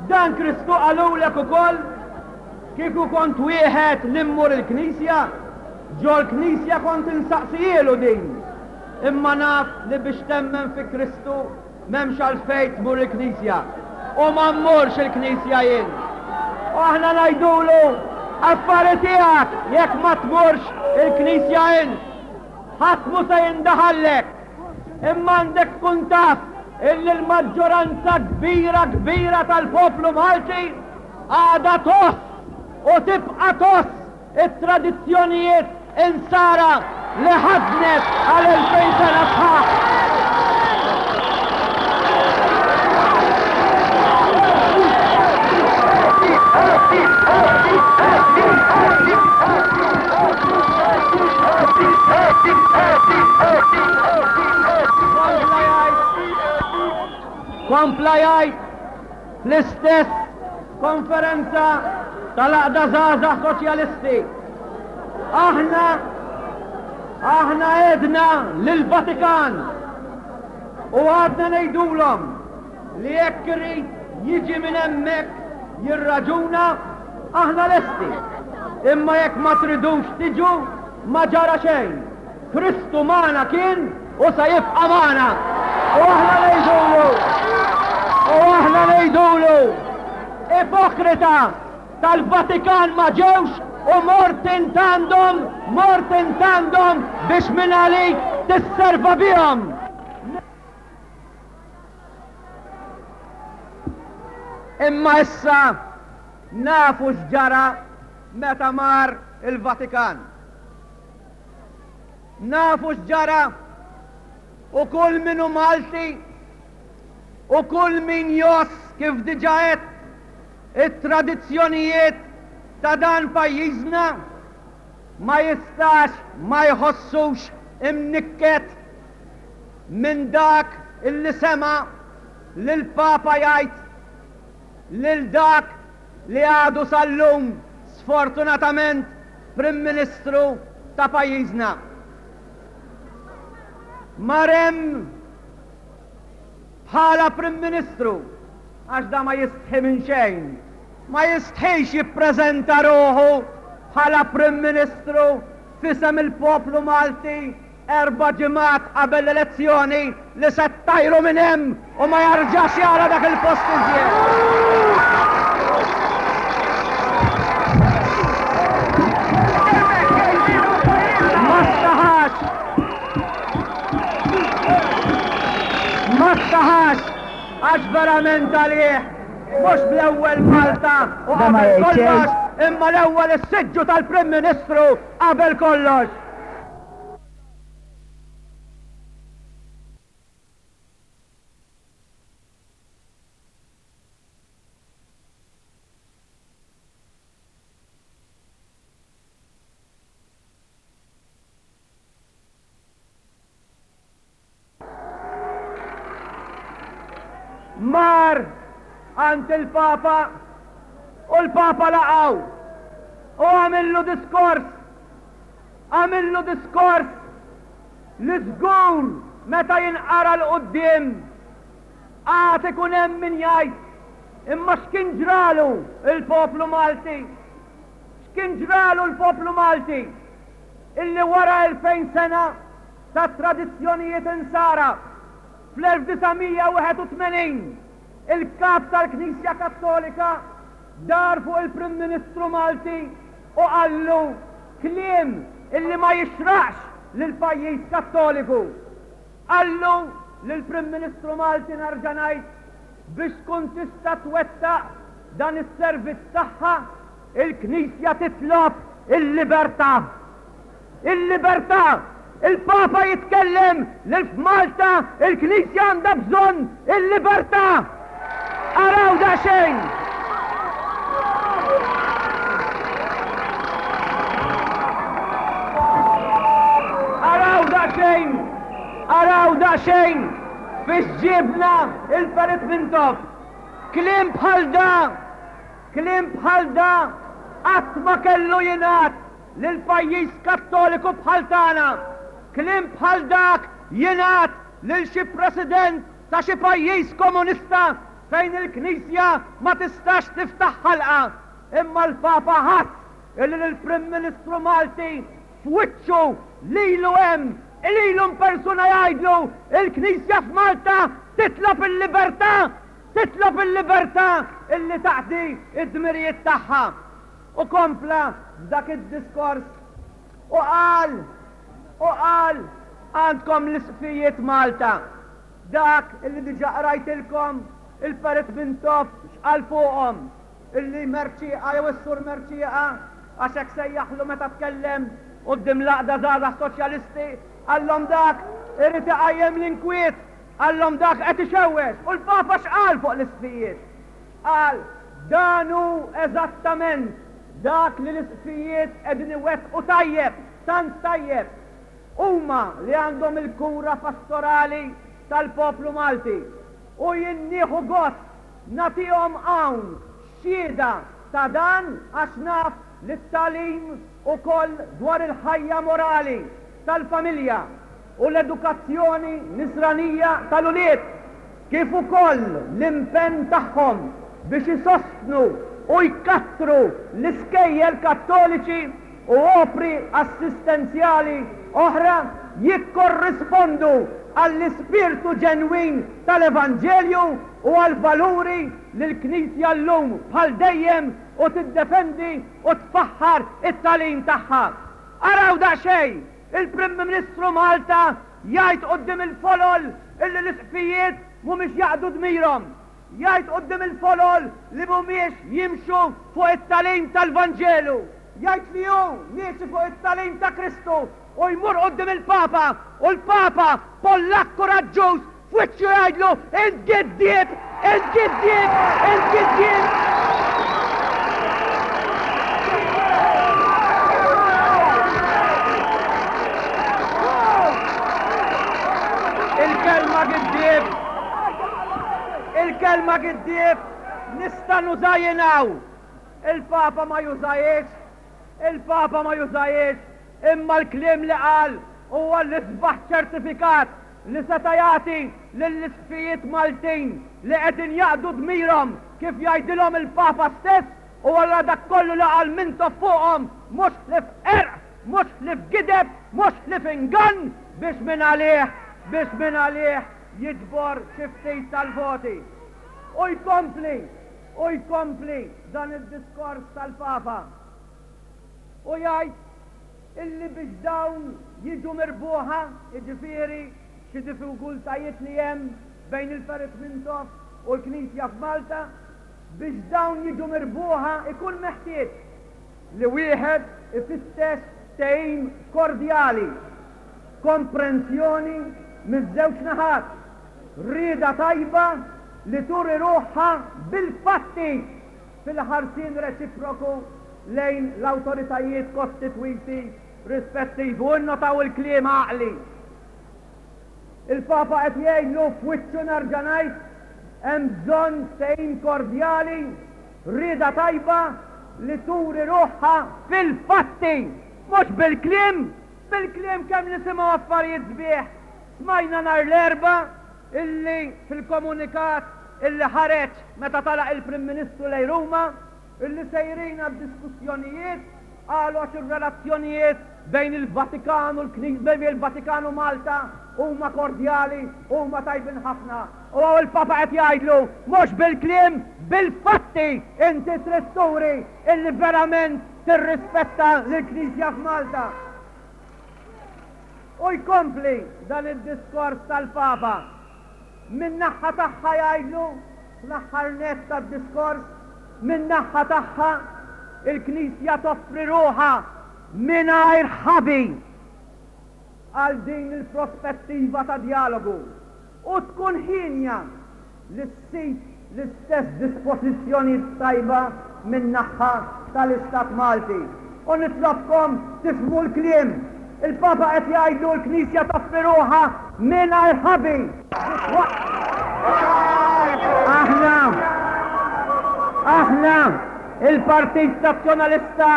Dan Kristu qalulek ukoll, Kieku kont wieħed li mmur il-knisja, ġol-knisja kont insaqsihielu din. Imma naf li biex temmen fi Kristu m'hemmx għalfejn tmur il-knisja. U ma mmurx il-knisja jien. U aħna ngħidulu, affari tiegħek jekk ma tmurx il-knisja int. Ħadd mhu se jindaħallek. Imma għandek tkun taf illi l-maġġoranza kbira kbira tal-poplu Malti għadha tgħożż u tibqa' tgħożż it-tradizzjonijiet Insara li ħaddnet għal 2000 sena sħaħ. Kompla jgħid fl-istess konferenza tal-Għaqda Żgħażagħ Soċjalisti. Aħna aħna għedna lill-Vatikan u għadna ngħidulhom li jekk irid jiġi minn hemmhekk jirraġuna, aħna lesti. Imma jekk ma tridux tiġu, ma ġara xejn. Kristu magħna kien u se jibqa' magħna. U aħna ngħidulu, u aħna ngħidulu, ipokrita tal-Vatikan ma ġewx u mort int għandhom, mort int għandhom biex minn għalik tisserva bihom. Imma issa nafu x'ġara meta mar il-Vatikan. Nafu x'ġara u kull min hu Malti u kull min jgħożż kif diġà għedt it-tradizzjonijiet ta' dan pajjiżna ma jistax ma jħossux imnikket minn dak illi sema' lill-Papa jgħid lil dak li għadu sal-lum sfortunatament Prim Ministru ta' pajjiżna. Mar hemm. bħala Prim Ministru, għax da ma jistħi minn xejn, ma jistħix jippreżenta ruħu bħala Prim Ministru f'isem il-poplu Malti Erba' ġimgħat qabel l-elezzjoni li se ttajru minn hemm u ma jarġax jara dak il-post iżjed. Ma staħax! Ma staħax għax verament għalih mhux l-ewwel Malta u qabel kollox imma l-ewwel is-siġġu tal-Prim Ministru qabel kollox. Mar għand il-Papa u l-Papa laqgħu u għamillu diskors għamillu diskors li żgur meta jinqara 'l quddiem għad ikun hemm min jgħid imma x'kien ġralu l-poplu Malti? X'kien ġralu l-poplu Malti illi wara 2000 sena ta' tradizzjonijiet insara, fl-1981 il-Kap tal-Knisja Kattolika dar fuq il-Prim Ministru Malti u qallu kliem illi ma jixraqx lil pajjiż Kattoliku. Qallu lill-Prim Ministru Malti nerġa' ngħid biex tkun tista' twettaq dan is-servizz tagħha, il-Knisja titlob il-libertà. Il-libertà! Il-Papa jitkellem li f'Malta il-Knisja għandha bżonn il-libertà! Araw daqsxejn! Araw daqsxejn! Araw daqsxejn fiex ġiebna il-Perit Mintoff! Kliem bħal da, kliem bħal da qatt ma kellu jingħad lil pajjiż Kattoliku bħal tagħna. Kliem bħal dak jingħad lil xi president ta' xi pajjiż komunista fejn il-Knisja ma tistax tiftaħ ħalqha. Imma l-Papa ħass illi lill-Prim Ministru Malti f'wiċċu lilu hemm, lilu in persuna jgħidlu, il-Knisja f'Malta titlob il-libertà, titlob il-libertà illi taqdi d-dmirijiet tagħha. U kompla f'dak id-diskors u qal, u qal, għandkom l-isqfijiet Malta, dak illi diġà qrajtilkom il-Perit Mintoff x'qal fuqhom, illi Mercieca jew is-Sur Mercieca, għax hekk sejjaħlu meta tkellem quddiem l-Għaqda Żgħażagħ Soċjalisti, qallhom dak irid iqajjem l-inkwiet, qallhom dak qed ixewwex. U l-Papa x'qal fuq l-isqfijiet? Qal, Dan hu eżattament dak li l-isqfijiet qegħdin iwettqu tajjeb, tant tajjeb. Huma li għandhom il-kura pastorali tal-poplu Malti. U jien nieħu gost nagħtihom hawn xhieda ta' dan għax naf li t-tagħlim ukoll dwar il-ħajja morali tal-familja u l-edukazzjoni nisranija tal-ulied, kif ukoll l-impenn tagħhom biex isostnu u jkattru l-iskejjel Kattoliċi u opri assistenzjali oħra jikkorrispondu għall-ispirtu ġenwin tal-Evanġelju u għall-valuri li l-Knisja llum bħal dejjem u tiddefendi u tfaħħar it-tagħlim tagħha. Araw daqsxejn! Il-Prim Ministru Malta jgħid quddiem il-folol illi l-Isqfijiet mhumiex jaqdu dmirhom. Jgħid quddiem il-folol li mhumiex jimxu fuq it-tagħlim tal-Vanġelu. Jgħid li hu miexi fuq it-tagħlim ta' Kristu u jmur quddiem il-Papa u l-Papa, Pollakk kuraġġuż, F'wiċċu jgħidlu, Int giddieb! Int giddieb! Int giddieb! Il-kelma giddieb! Il-kelma giddieb nista' nuża jien hawn. Il-Papa ma jużahiex, il-Papa ma jużahiex, imma l-kliem li qal huwa l-isbaħ ċertifikat. li seta' jagħti lill-Isqfijiet Maltin li qegħdin jaqdu dmirhom kif jgħidilhom il-Papa stess u allura dak kollu li qal Mintoff fuqhom mhux ħlief qerq, mhux ħlief gideb, mhux ħlief ingann biex mingħalih, biex mingħalih jiġbor xi ftit tal-voti. U jkompli, u jkompli dan id-diskors tal-Papa u jgħid illi biex dawn jiġu mirbuħa, jiġifieri xi diffikultajiet li hemm bejn il-Perit Mintoff u l-Knisja f'Malta, biex dawn jiġu mirbuħa ikun meħtieġ li wieħed ifittex ftehim kordjali, komprensjoni miż-żewġ naħat, rieda tajba li turi ruħha bil-fatti fil-ħarsien reċiproku lejn l-awtoritajiet kostitwiti rispettivi. U innotaw il-kliem għaqli. Il-Papa qed jgħidlu f'wiċċu nerġa' ngħid, hemm bżonn ftehim kordjali, rieda tajba li turi ruħha fil-fatti, mhux bil-kliem, bil-kliem kemm nisimgħu affarijiet sbieħ. Smajna nhar l-Erbgħa illi fil-komunikat illi ħareġ meta telaq il-Prim Ministru lejn Ruma, illi sejrin għad-diskussjonijiet, qalu għax ir-relazzjonijiet bejn il-Vatikan u l-Knisja, bejn il-Vatikan u Malta huma kordjali, huma tajbin ħafna. U hawn il-Papa qed jgħidlu, mhux bil-kliem, bil-fatti inti trid turi illi verament tirrispetta lill-Knisja f'Malta. U jkompli dan id-diskors tal-Papa. Min-naħha tagħha jgħidlu, fl-aħħar nett tad-diskors, min-naħha tagħha, il-Knisja toffri ruħha mingħajr ħabi għal din il-prospettiva ta' djalogu u tkun hienja li ssib l-istess dispożizzjonijiet tajba min-naħha tal-Istat Malti. U nitlobkom tifhmu l-kliem. Il-Papa qed jgħidlu l-Knisja toffri ruħha mingħajr ħabi. Aħna, aħna, il-Partit Nazzjonalista,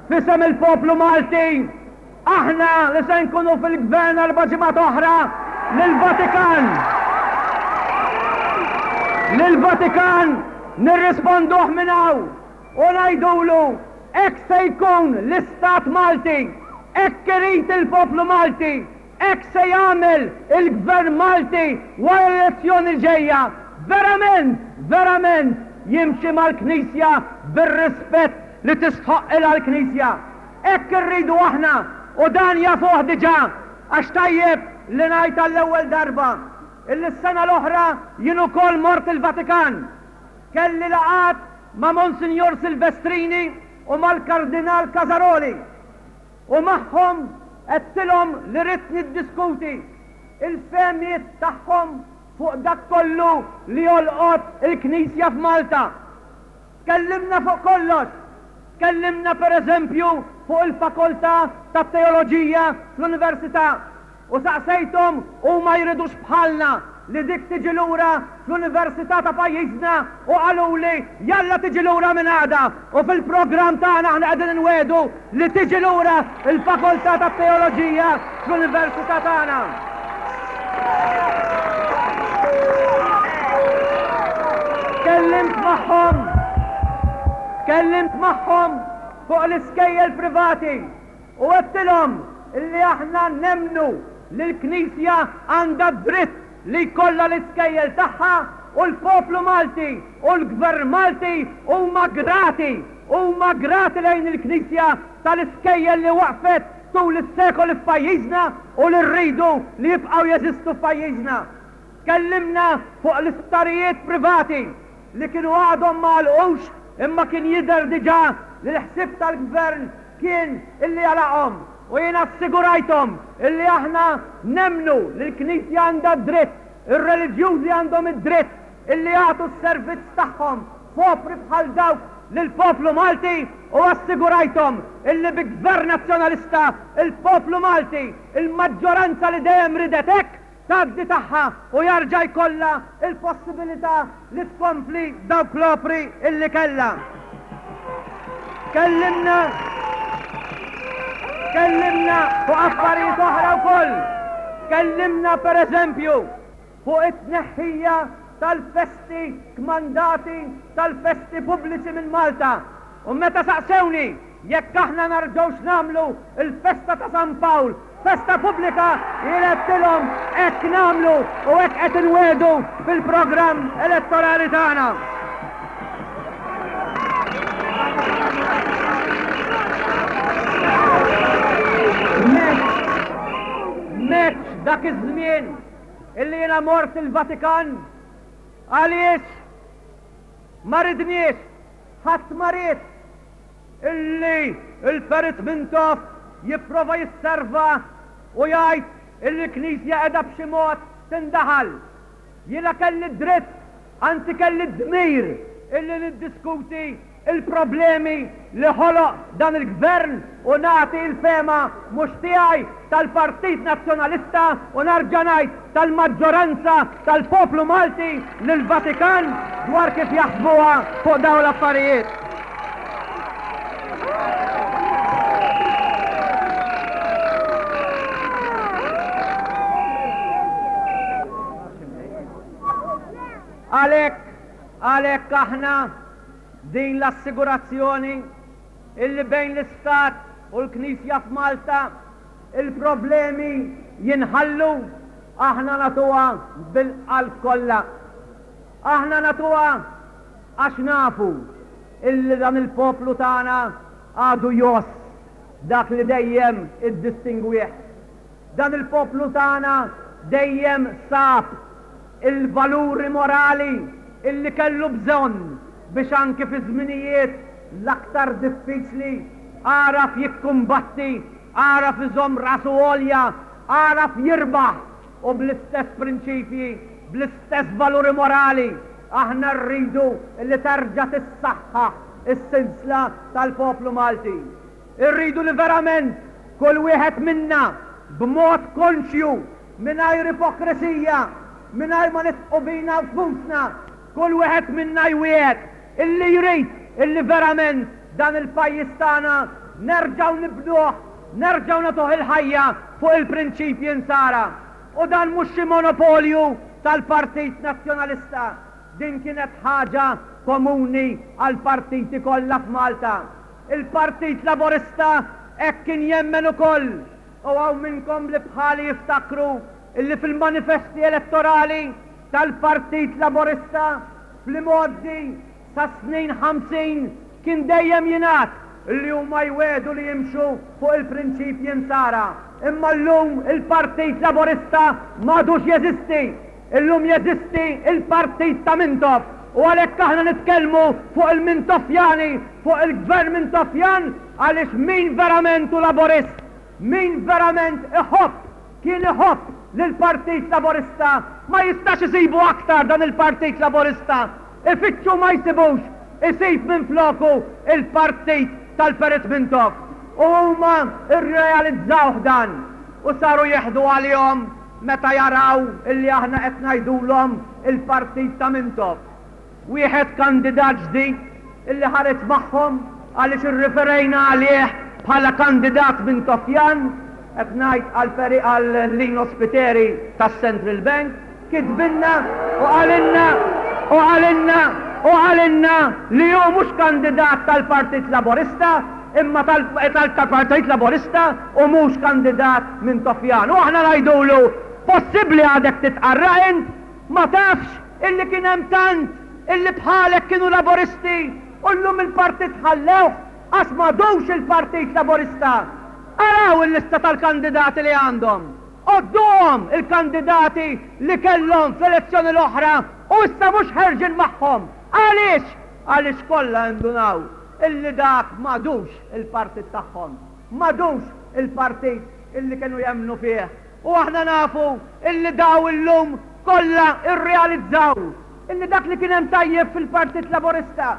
f'isem il-poplu Malti, Aħna li se nkunu fil-gvern erba' ġimgħat oħra lill-Vatikan. Lill-Vatikan nirrisponduh minn hawn u ngħidulu hekk se jkun l-Istat Malti, hekk irid il-poplu Malti, hekk se jagħmel il-Gvern Malti wara l-elezzjoni l-ġejja. Verament, verament jimxi mal-Knisja bir-rispett li tistħoqqilha l-Knisja. Hekk irridu aħna u dan jafuh diġà għax tajjeb li ngħid għall-ewwel darba illi s-sena l-oħra jien ukoll mort il-Vatikan. Kelli laqgħat ma' Monsinjur Silvestrini u mal-Kardinal Casaroli u magħhom għedtilhom li ridt niddiskuti il-fehmiet tagħhom fuq dak kollu li jolqot il-Knisja f'Malta. Tkellimna fuq kollox. Tkellimna per eżempju fuq il-fakoltà tat-teoloġija fl-Università u saqsejthom huma jridux bħalna li dik tiġi lura fl-Università ta' pajjiżna u qaluli jalla tiġi lura minn għada u fil-programm tagħna aħna qegħdin inwiegħdu li tiġi lura l-fakoltà tat-teoloġija fl-Università tagħna. Tkellimt magħhom, tkellimt magħhom fuq l-iskejjel privati u għedtilhom illi aħna nemmnu li l-Knisja għandha d-dritt li jkollha l-iskejjel tagħha u l-poplu Malti u l-Gvern Malti huma grati, huma grati lejn il-Knisja tal-iskejjel li waqfet tul is-sekoli f'pajjiżna u li rridu li jibqgħu jeżistu f'pajjiżna. Tkellimna fuq l-isptarijiet privati li kienu għadhom ma għalqux imma kien jidher diġà li l-ħsieb tal-Gvern kien illi jagħlaqhom u jien assigurajthom illi aħna nemmnu li l-Knisja għandha d-dritt, ir-reliġjużi għandhom id-dritt illi jagħtu s-servizz tagħhom f'opri bħal dawk lill-poplu Malti u assigurajthom illi bi Gvern Nazzjonalista il-poplu Malti, il-maġġoranza li dejjem ridet hekk, tgħaddi tagħha u jarġa' jkollha l-possibilità li tkompli dawk l-opri illi kellha. Tkellimna Tkellimna fuq affarijiet oħra wkoll. Tkellimna pereżempju fuq it-tneħħija tal-festi kmandati tal-festi pubbliċi minn Malta u meta saqsewni jekk aħna narġgħux nagħmlu l-festa ta' San Pawl festa pubblika jien għedtilhom hekk nagħmlu u hekk qed inwiegħdu fil-programm elettorali tagħna. M'hemmx dak iż-żmien illi jiena mort il-Vatikan għaliex ma ridniex, ħadd ma ried illi l-Perit Mintoff jipprova jisserva u jgħid illi l-Knisja qiegħda b'xi mod tindaħal. Jiena kelli d-dritt, anzi kelli d-dmir illi niddiskuti l-problemi li ħoloq dan il-Gvern u nagħti l-fehma mhux tiegħi, tal-Partit Nazzjonalista u nerġa' ngħid tal-maġġoranza tal-poplu Malti lill-Vatikan dwar kif jaħsbuha fuq dawn l-affarijiet. Għalhekk, għalhekk aħna din l-assigurazzjoni illi bejn l-Istat u l-Knisja f'Malta il-problemi jinħallu, aħna nagħtuha bil-qalb kollha. Aħna nagħtuha għax nafu illi dan il-poplu tagħna għadu jgħożż dak li dejjem iddistingwih. Dan il-poplu tagħna dejjem sab il-valuri morali illi kellu bżonn biex anki fi żminijiet l-aktar diffiċli għaraf jikkumbatti, għaraf iżomm rasu għolja, għaraf jirbaħ u bl-istess prinċipji, bl-istess valuri morali aħna rridu li terġa' tissaħħaħ is-sinsla tal-poplu Malti. Irridu li verament kull wieħed minna, b'mod konxju, mingħajr ipokrisija, mingħajr ma nidħqu bina nfusna, kull wieħed minna jwiegħed illi jrid illi verament dan il-pajjiż tagħna nerġgħu nibnuh, nerġgħu nagħtuh il-ħajja fuq il-prinċipji Nsara. U dan mhux xi monopolju tal-Partit Nazzjonalista. Din kienet ħaġa komuni għall-partiti kollha f'Malta. Il-Partit Laburista hekk kien jemmen ukoll u hawn minnkom li bħali jiftakru illi fil-manifesti elettorali tal-Partit Laburista fl-imgħoddi sas-snin 50 kien dejjem jingħad illi huma jwiegħdu li jimxu fuq il-prinċipji Nsara. Imma llum il-Partit Laburista m'għadux jeżisti. Illum jeżisti il-partit ta' Mintoff u għalhekk aħna nitkellmu fuq il-Mintoffjani, fuq il-Gvern Mintoffjan għaliex min verament hu Laburist, min verament iħobb, kien iħobb lill-Partit Laburista ma jistax isibu aktar dan il-Partit Laburista. Ifittxu ma jsibux, isib minfloku il-partit tal-Perit Mintoff. U huma rrealizzawh dan u saru jieħdu għalihom meta jaraw illi aħna qed ngħidulhom il-partit ta' Mintoff. Wieħed kandidat ġdid illi ħareġ magħhom għaliex irriferejna għalih bħala kandidat Mintoffjan, qed ngħid għal għal Lino Spiteri tas-Central Bank, kitbilna u qalilna u qalilna u qalilna li hu mhux kandidat tal-Partit Laburista imma tal-Partit Laburista u mhux kandidat Mintoffjan. U aħna ngħidulu, possibbli għadek titqarraq int? Ma tafx illi kien hemm tant illi bħalek kienu Laburisti u llum il-partit ħallewh għax m'għadux il-Partit Laburista? Araw il-lista tal-kandidati li għandhom. Għodduhom il-kandidati li kellhom fl-elezzjoni l-oħra u issa mhux ħerġin magħhom. Għaliex? Għaliex kollha indunaw illi dak m'għadux il-partit tagħhom. M'għadux il-partit illi kienu jemmnu fih. U aħna nafu illi daw illum kollha rrealizzaw illi dak li kien hemm tajjeb fil-Partit Laburista,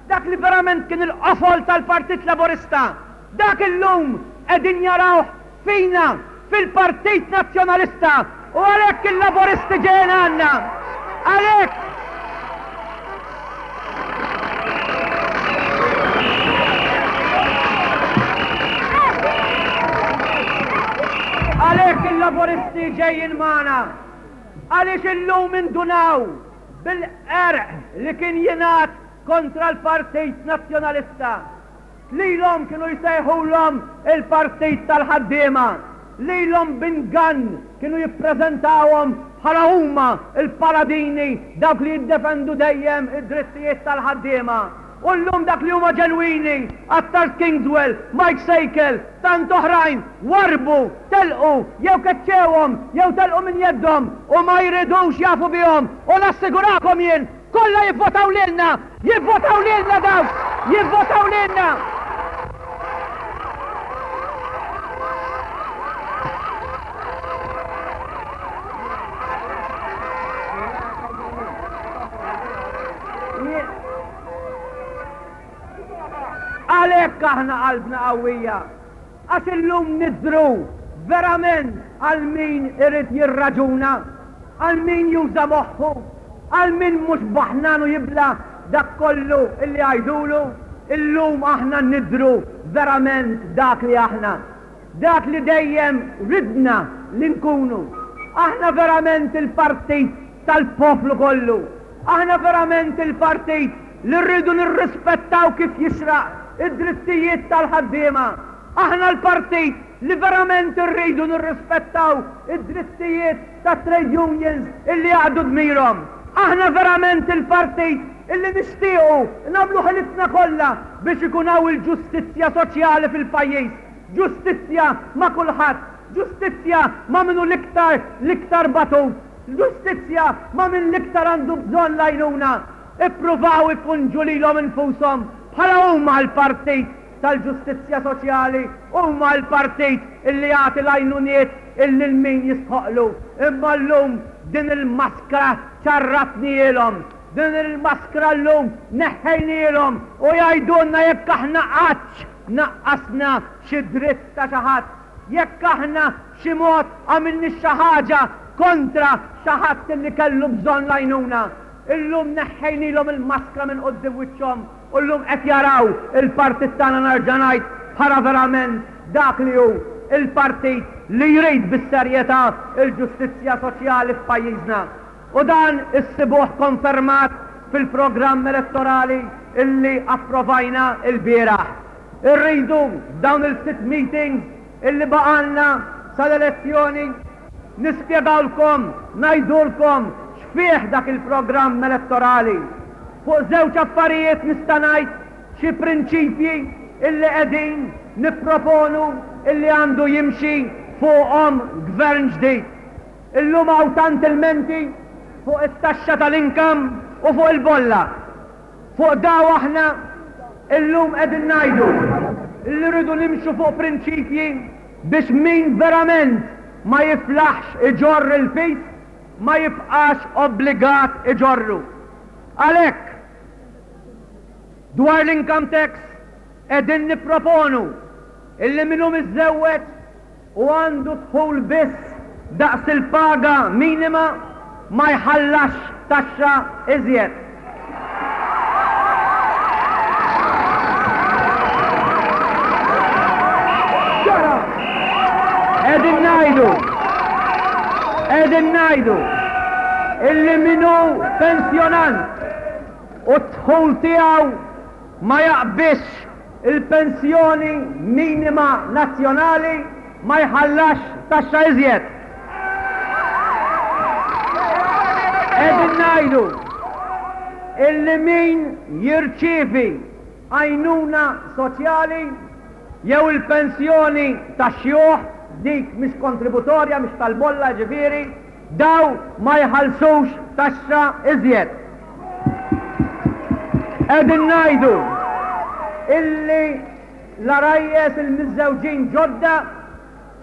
dak li verament kien il-qofol tal-Partit Laburista, dak illum qegħdin jarawh fina, fil-Partit Nazzjonalista u għalhekk il-Laburisti ġejjin għandna. Għalhekk Għalhekk il-Laburisti. Il-Laburisti ġejjin magħna għaliex illum indunaw bil-qerq li kien jingħad kontra l-Partit Nazzjonalista. Lilhom kienu jsejħulhom il-Partit tal-Ħaddiema. Lilhom b'ingann kienu jippreżentawhom bħala huma l-paladini, dawk li jiddefendu dejjem id-drittijiet tal-ħaddiema. U llum dak li huma ġenwini, Attard Kingswell, Mike Sejkel, tant oħrajn, warrbu, telqu, jew keċċewhom, jew telqu minn jeddhom u ma jridux jafu bihom. U nassigurakom jien, kollha jivvotaw lilna! Jivvotaw lilna dawk! Jivvotaw lilna! Għalhekk aħna qalbna qawwija, għax illum nidhru verament għal min irid jirraġuna, għal min juża moħħu, għal min mhux baħnan u jibla' dak kollu illi jgħidulu, illum aħna nidhru verament dak li aħna. Dak li dejjem ridna li nkunu. Aħna verament il-partit tal-poplu kollu. Aħna verament il-partit li rridu nirrispettaw kif jixraq id-drittijiet tal-ħaddiema. Aħna l-partit li verament irridu nirrispettaw id-drittijiet tat-trade unions illi jaqdu dmirhom. Aħna verament il-partit illi nixtiequ nagħmlu ħilitna kollha biex ikun hawn il-ġustizzja soċjali fil-pajjiż. Ġustizzja ma' kulħadd, ġustizzja ma' min hu l-iktar l-iktar batut, ġustizzja ma' min l-iktar għandu bżonn l-għajnuna. Ippruvaw ipunġu lilhom infushom bħala huma l-partit tal-ġustizzja soċjali, huma l-partit illi jagħti l-għajnuniet lil min jistħoqqlu. Imma llum din il-maskra ċarratnielhom, din il-maskra llum neħħejnielhom u jgħidulna jekk aħna qattx naqqasna xi dritt ta' xi ħadd, jekk aħna b'xi mod għamilniex xi ħaġa kontra xi ħadd li kellu bżonn l-għajnuna. Illum neħħejnilhom il-maskra minn quddiem wiċċhom u llum qed jaraw il-partit tagħna nerġa' ngħid bħala verament dak li hu, il-partit li jrid bis-serjetà l-ġustizzja soċjali f'pajjiżna. U dan issibuh konfermat fil-programm elettorali illi approvajna lbieraħ. Irridu f'dawn il-ftit meetings illi baqgħalna sal-elezzjoni nispjegawlkom, ngħidulkom x'fih dak il-programm elettorali. Fuq żewġ affarijiet nista' ngħid xi prinċipji illi qegħdin nipproponu illi għandu jimxi fuqhom gvern ġdid. Illum hawn tant ilmenti fuq it-taxxa tal-income u fuq il-bolla. Fuq daw aħna illum qegħdin ngħidu li rridu nimxu fuq prinċipji biex min verament ma jiflaħx iġorr il-piż ma jibqax obbligat iġorru. Għalhekk, dwar l-income tax qegħdin nipproponu illi min hu miżżewweġ u għandu dħul biss daqs il-paga minima ma jħallasx taxxa iżjed. Qegħdin ngħidu, qegħdin ngħidu illi min hu pensjonant u d-dħul tiegħu ma jaqbiżx il-pensjoni minima nazzjonali ma jħallasx taxxa iżjed. Qegħdin ngħidu illi min jirċievi għajnuna soċjali jew il-pensjoni tax-xjuħ, dik mhix kontributorja, mhix tal-bolla jiġifieri, Dawn ma jħallsux taxxa iżjed. Qegħdin ngħidu illi l-għarajjes il-miżżewġin ġodda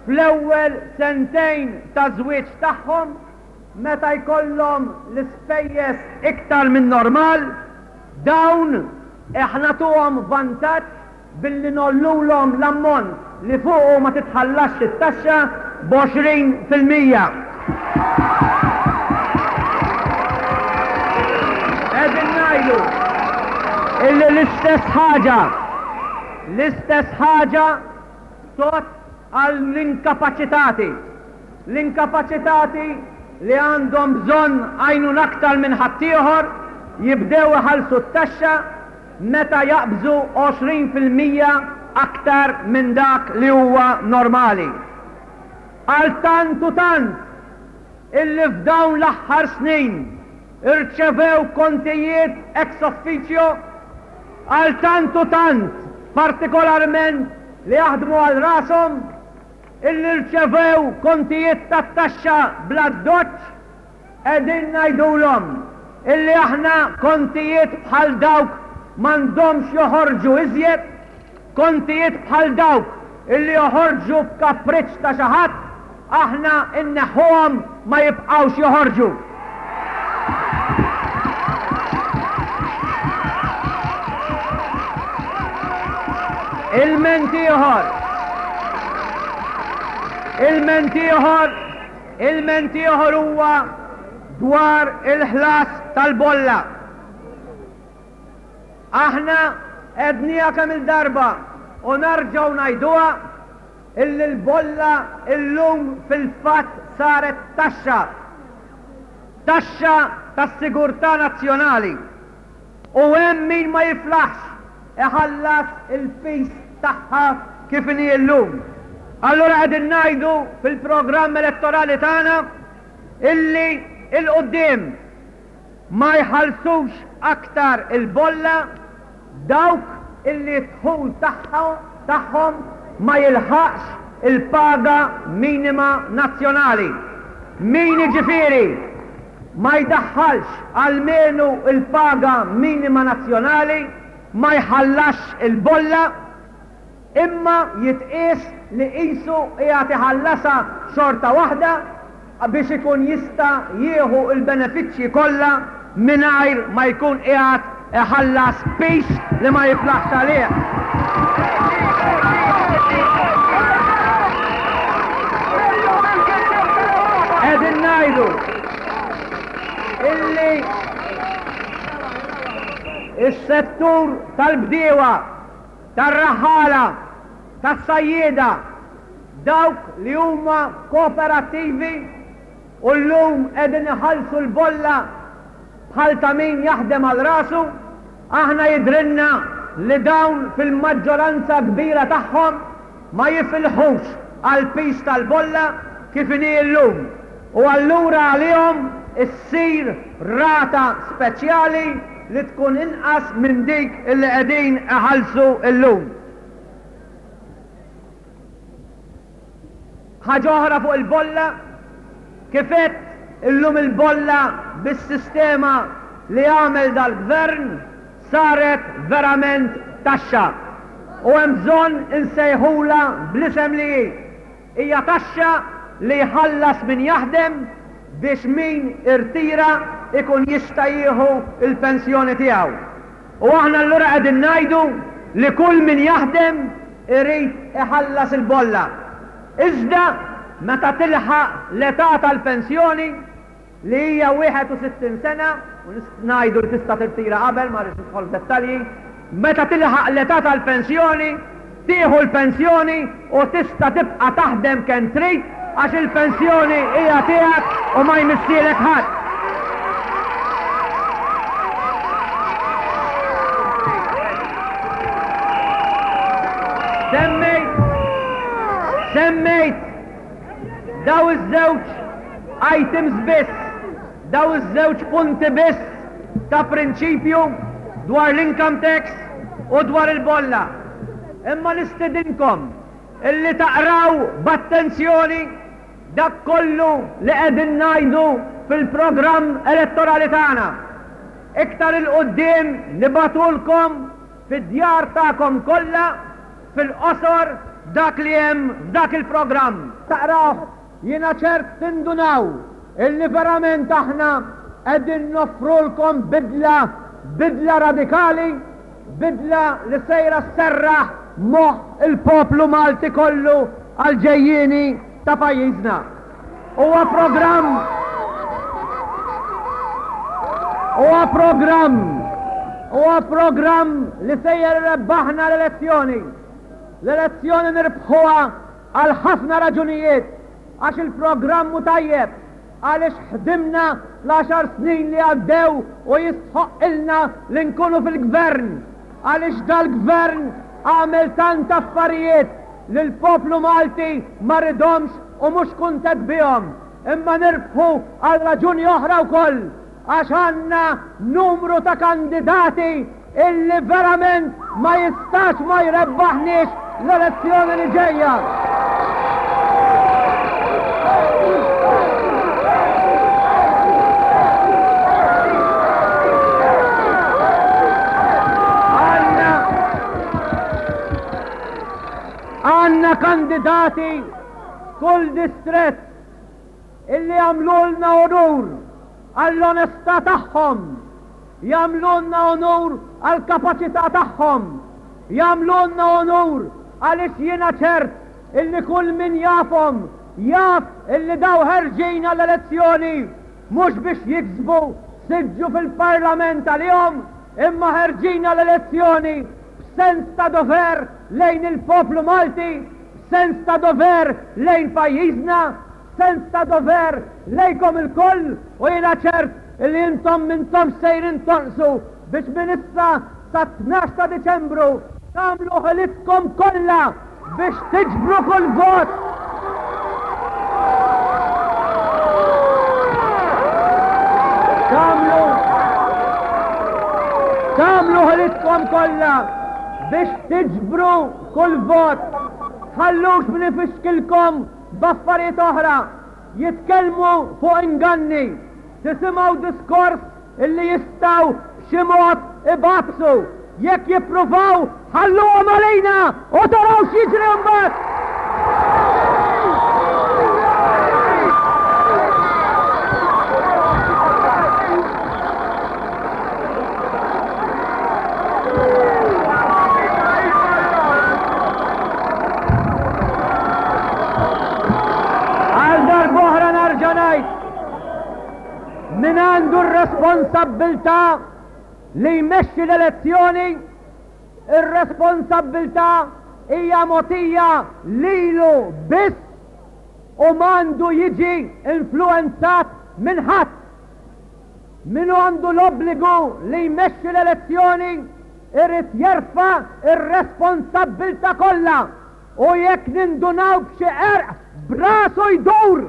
fl-ewwel sentejn ta' żwieġ tagħhom meta jkollhom l-ispejjeż iktar min-normal, dawn nagħtuhom vantaġġ billi ngħollulhom l-ammont li fuqu ma titħallasx it-taxxa b'20%. Qegħdin ngħidu illi l-istess ħaġa, l-istess ħaġa tgħodd għall-inkapaċitati. L-inkapaċitati li għandhom bżonn għajnuna aktar minn ħaddieħor jibdew iħallsu t-taxxa meta jaqbżu 20% aktar minn dak li huwa normali. Għal tant u tant illi f'dawn l-aħħar snin irċevew kontijiet ex officio, għal tant u tant, partikolarment li jaħdmu għal rashom, illi rċevew kontijiet tat-taxxa bl-addoċċ, qegħdin ngħidulhom illi aħna kontijiet bħal dawk m'għandhomx joħorġu iżjed, kontijiet bħal dawk illi joħorġu b'kapriċċ ta' xi ħadd, aħna nneħħuhom ma jibqgħux joħorġu. Ilment ieħor. Ilment ieħor, ilment ieħor huwa dwar il-ħlas tal-bolla. Aħna għedniha kemm il-darba u narġgħu ngħiduha Illi l-bolla illum fil-fatt saret taxxa. Taxxa tas-sigurtà nazzjonali. U hemm min ma jiflaħx iħallas il-piż tagħha kif inhi llum. Allura qegħdin ngħidu fil-programm elettorali tagħna illi 'l quddiem ma jħallsux aktar il-bolla dawk illi d-dħul tagħhom ma jilħaqx il-paga minima nazzjonali. Min jiġifieri ma jdaħħalx almenu l-paga minima nazzjonali ma jħallasx il-bolla. Imma jitqies li qisu qiegħed iħallasha xorta waħda biex ikun jista' jieħu l-benefiċċji kollha mingħajr ma jkun qiegħed iħallas piż li ma jiflaħx għalih. Qegħdin ngħidu illi s-settur tal-bdiewa tar-raħħala, tas-sajjieda, dawk li huma kooperattivi u llum qegħdin iħallsu l-bolla bħal ta' min jaħdem għal rasu, aħna jidhrilna li dawn fil-maġġoranza kbira tagħhom ma jifilħux għall-piż tal-bolla kif inhi llum u allura għalihom issir rata speċjali li tkun inqas minn dik li qegħdin iħallsu llum. Ħaġa oħra fuq il-bolla, kif għedt illum il-bolla bis-sistema li għamel dal-Gvern saret verament taxxa u hemm bżonn insejħulha bl-isem li hi. Hija taxxa li jħallas min jaħdem biex min irtira jkun jista' jieħu l-pensjoni tiegħu. U aħna allura qegħdin ngħidu li kull min jaħdem irid iħallas il-bolla. Iżda meta tilħaq l-età tal-pensjoni, li hija 61 sena, u ngħidu li tista' tirtira qabel, ma rridx nidħol f'dettalji, meta tilħaq l-età tal-pensjoni, tieħu l-pensjoni u tista' tibqa' taħdem kemm trid għax il-pensjoni hija tiegħek u ma jmissielek ħadd. Semmejt, semmejt Daw iż-żewġ items biss, daw iż-żewġ punti biss ta' prinċipju dwar l-income tax u dwar il-bolla. Imma nistedinkom illi taqraw b'attenzjoni dak kollu li qegħdin ngħidu fil-programm elettorali tagħna. Iktar 'il quddiem nibagħtulkom fid-djar tagħkom kollha fil-qosor dak li hemm f'dak il-programm. Taqrawh, jiena ċert tindunaw illi verament aħna qegħdin noffrulkom bidla, bidla radikali, bidla li sejra sserraħ moħħ il-poplu Malti kollu għall-ġejjieni ta' pajjiżna. Huwa programm Huwa programm Huwa programm li sejjer irebbaħna l-elezzjoni. L-elezzjoni nirbħuha għal ħafna raġunijiet. għax il-programm hu tajjeb, għaliex ħdimna fl-għaxar snin li għaddew u jistħoqqilna li nkunu fil-Gvern, għaliex dal-Gvern għamel tant affarijiet li l-poplu Malti ma ridhomx u mhux kuntent bihom, imma nirbħu għal raġuni oħra wkoll, għax għandna numru ta' kandidati illi verament ma jistax ma jrebbaħniex l-elezzjoni li ġejja. Għandna kandidati f'kull distrett illi jagħmlulna unur għall-onestà tagħhom, jagħmlulna unur għall-kapaċità tagħhom, jagħmlulna unur għaliex jiena ċert illi kull min jafhom jaf illi daw ħerġin għall-elezzjoni mhux biex jiksbu siġġu fil-Parlament għalihom imma ħerġin għall-elezzjoni b'sens ta' dover lejn il-poplu Malti, b'sens ta' dover lejn pajjiżna, Sens ta' dover lejkom ilkoll u jiena ċert illi intom m'intomx sejrin tonqsu biex minn issa sat-tnax ta' Diċembru tagħmlu ħilitkom kollha biex tiġbru kull vot. Tagħmlu tagħmlu ħilitkom kollha biex tiġbru kull vot. Tħallux min ifixkilkom B'affarijiet oħra, jitkellmu fuq inganni, tisimgħu diskors illi jistgħu b'xi mod ibagħbsu. Jekk jippruvaw, ħalluhom għalina u taraw x'jiġri mbagħad! Għal darb'oħra nerġa' ngħid min għandu r-responsabbiltà li jmexxi l-elezzjoni, ir-responsabbiltà hija mogħtija lilu biss u m'għandu jiġi influwenzat minn ħadd. Min hu għandu l-obbligu li jmexxi l-elezzjoni irid jerfa' r-responsabbiltà kollha u jekk nindunaw b'xi qerq b'rasu jdur!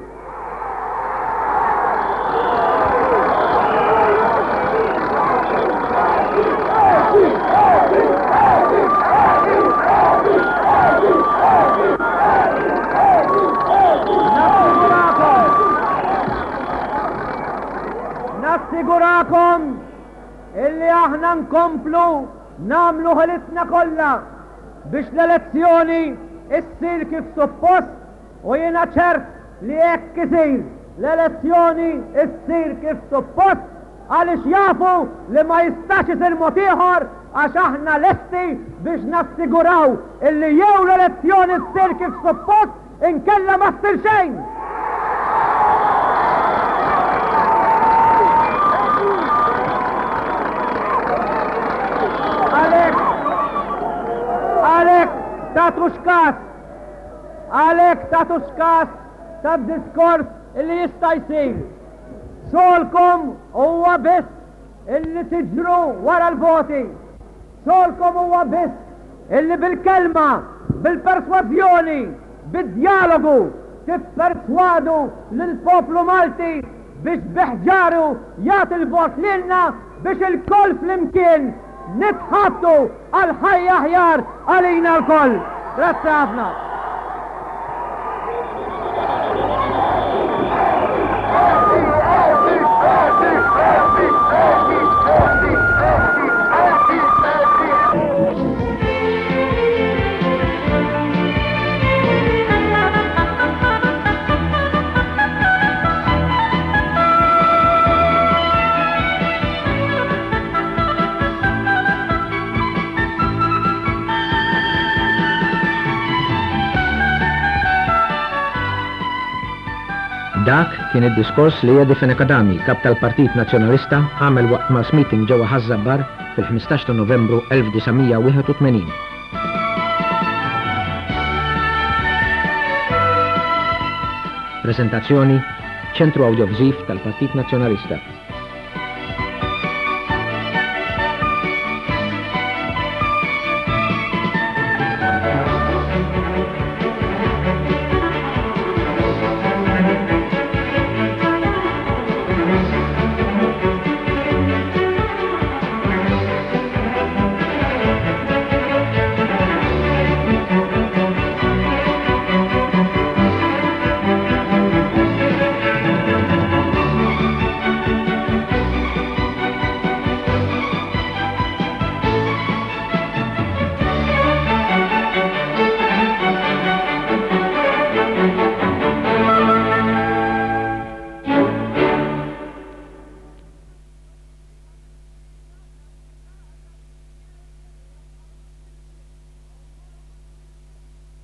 Nassigurakom illi aħna nkomplu nagħmlu ħilitna kollha biex l-elezzjoni issir kif suppost u jiena ċert li hekk isir, l-elezzjoni issir kif suppost għaliex jafu li ma jistax isir mod ieħor għax aħna lesti biex nassiguraw illi jew l-elezzjoni ssir kif suppost Inkella ma ssir xejn! Għalhekk, għalhekk tagħtux kas, għalhekk tagħtux kas tad-diskors illi jista' jsir. Xogħolkom huwa biss illi tiġru wara l-voti. Xogħolkom huwa biss illi bil-kelma, bil-persważjoni, bid-djalogu tipperswadu lill-poplu Malti biex bi ħġaru jagħti l-vot lilna biex ilkoll flimkien nitħabtu għal ħajja aħjar għalina lkoll. Grazzi ħafna. Dak kien id-diskors li Eddie Fenech Adami, Kap tal-Partit Nazzjonalista, għamel waqt mass meeting ġewwa Ħaż-Żabbar fil-15 ta' Novembru 1981. Preżentazzjoni, Ċentru Awdjoviżiv tal-Partit Nazzjonalista.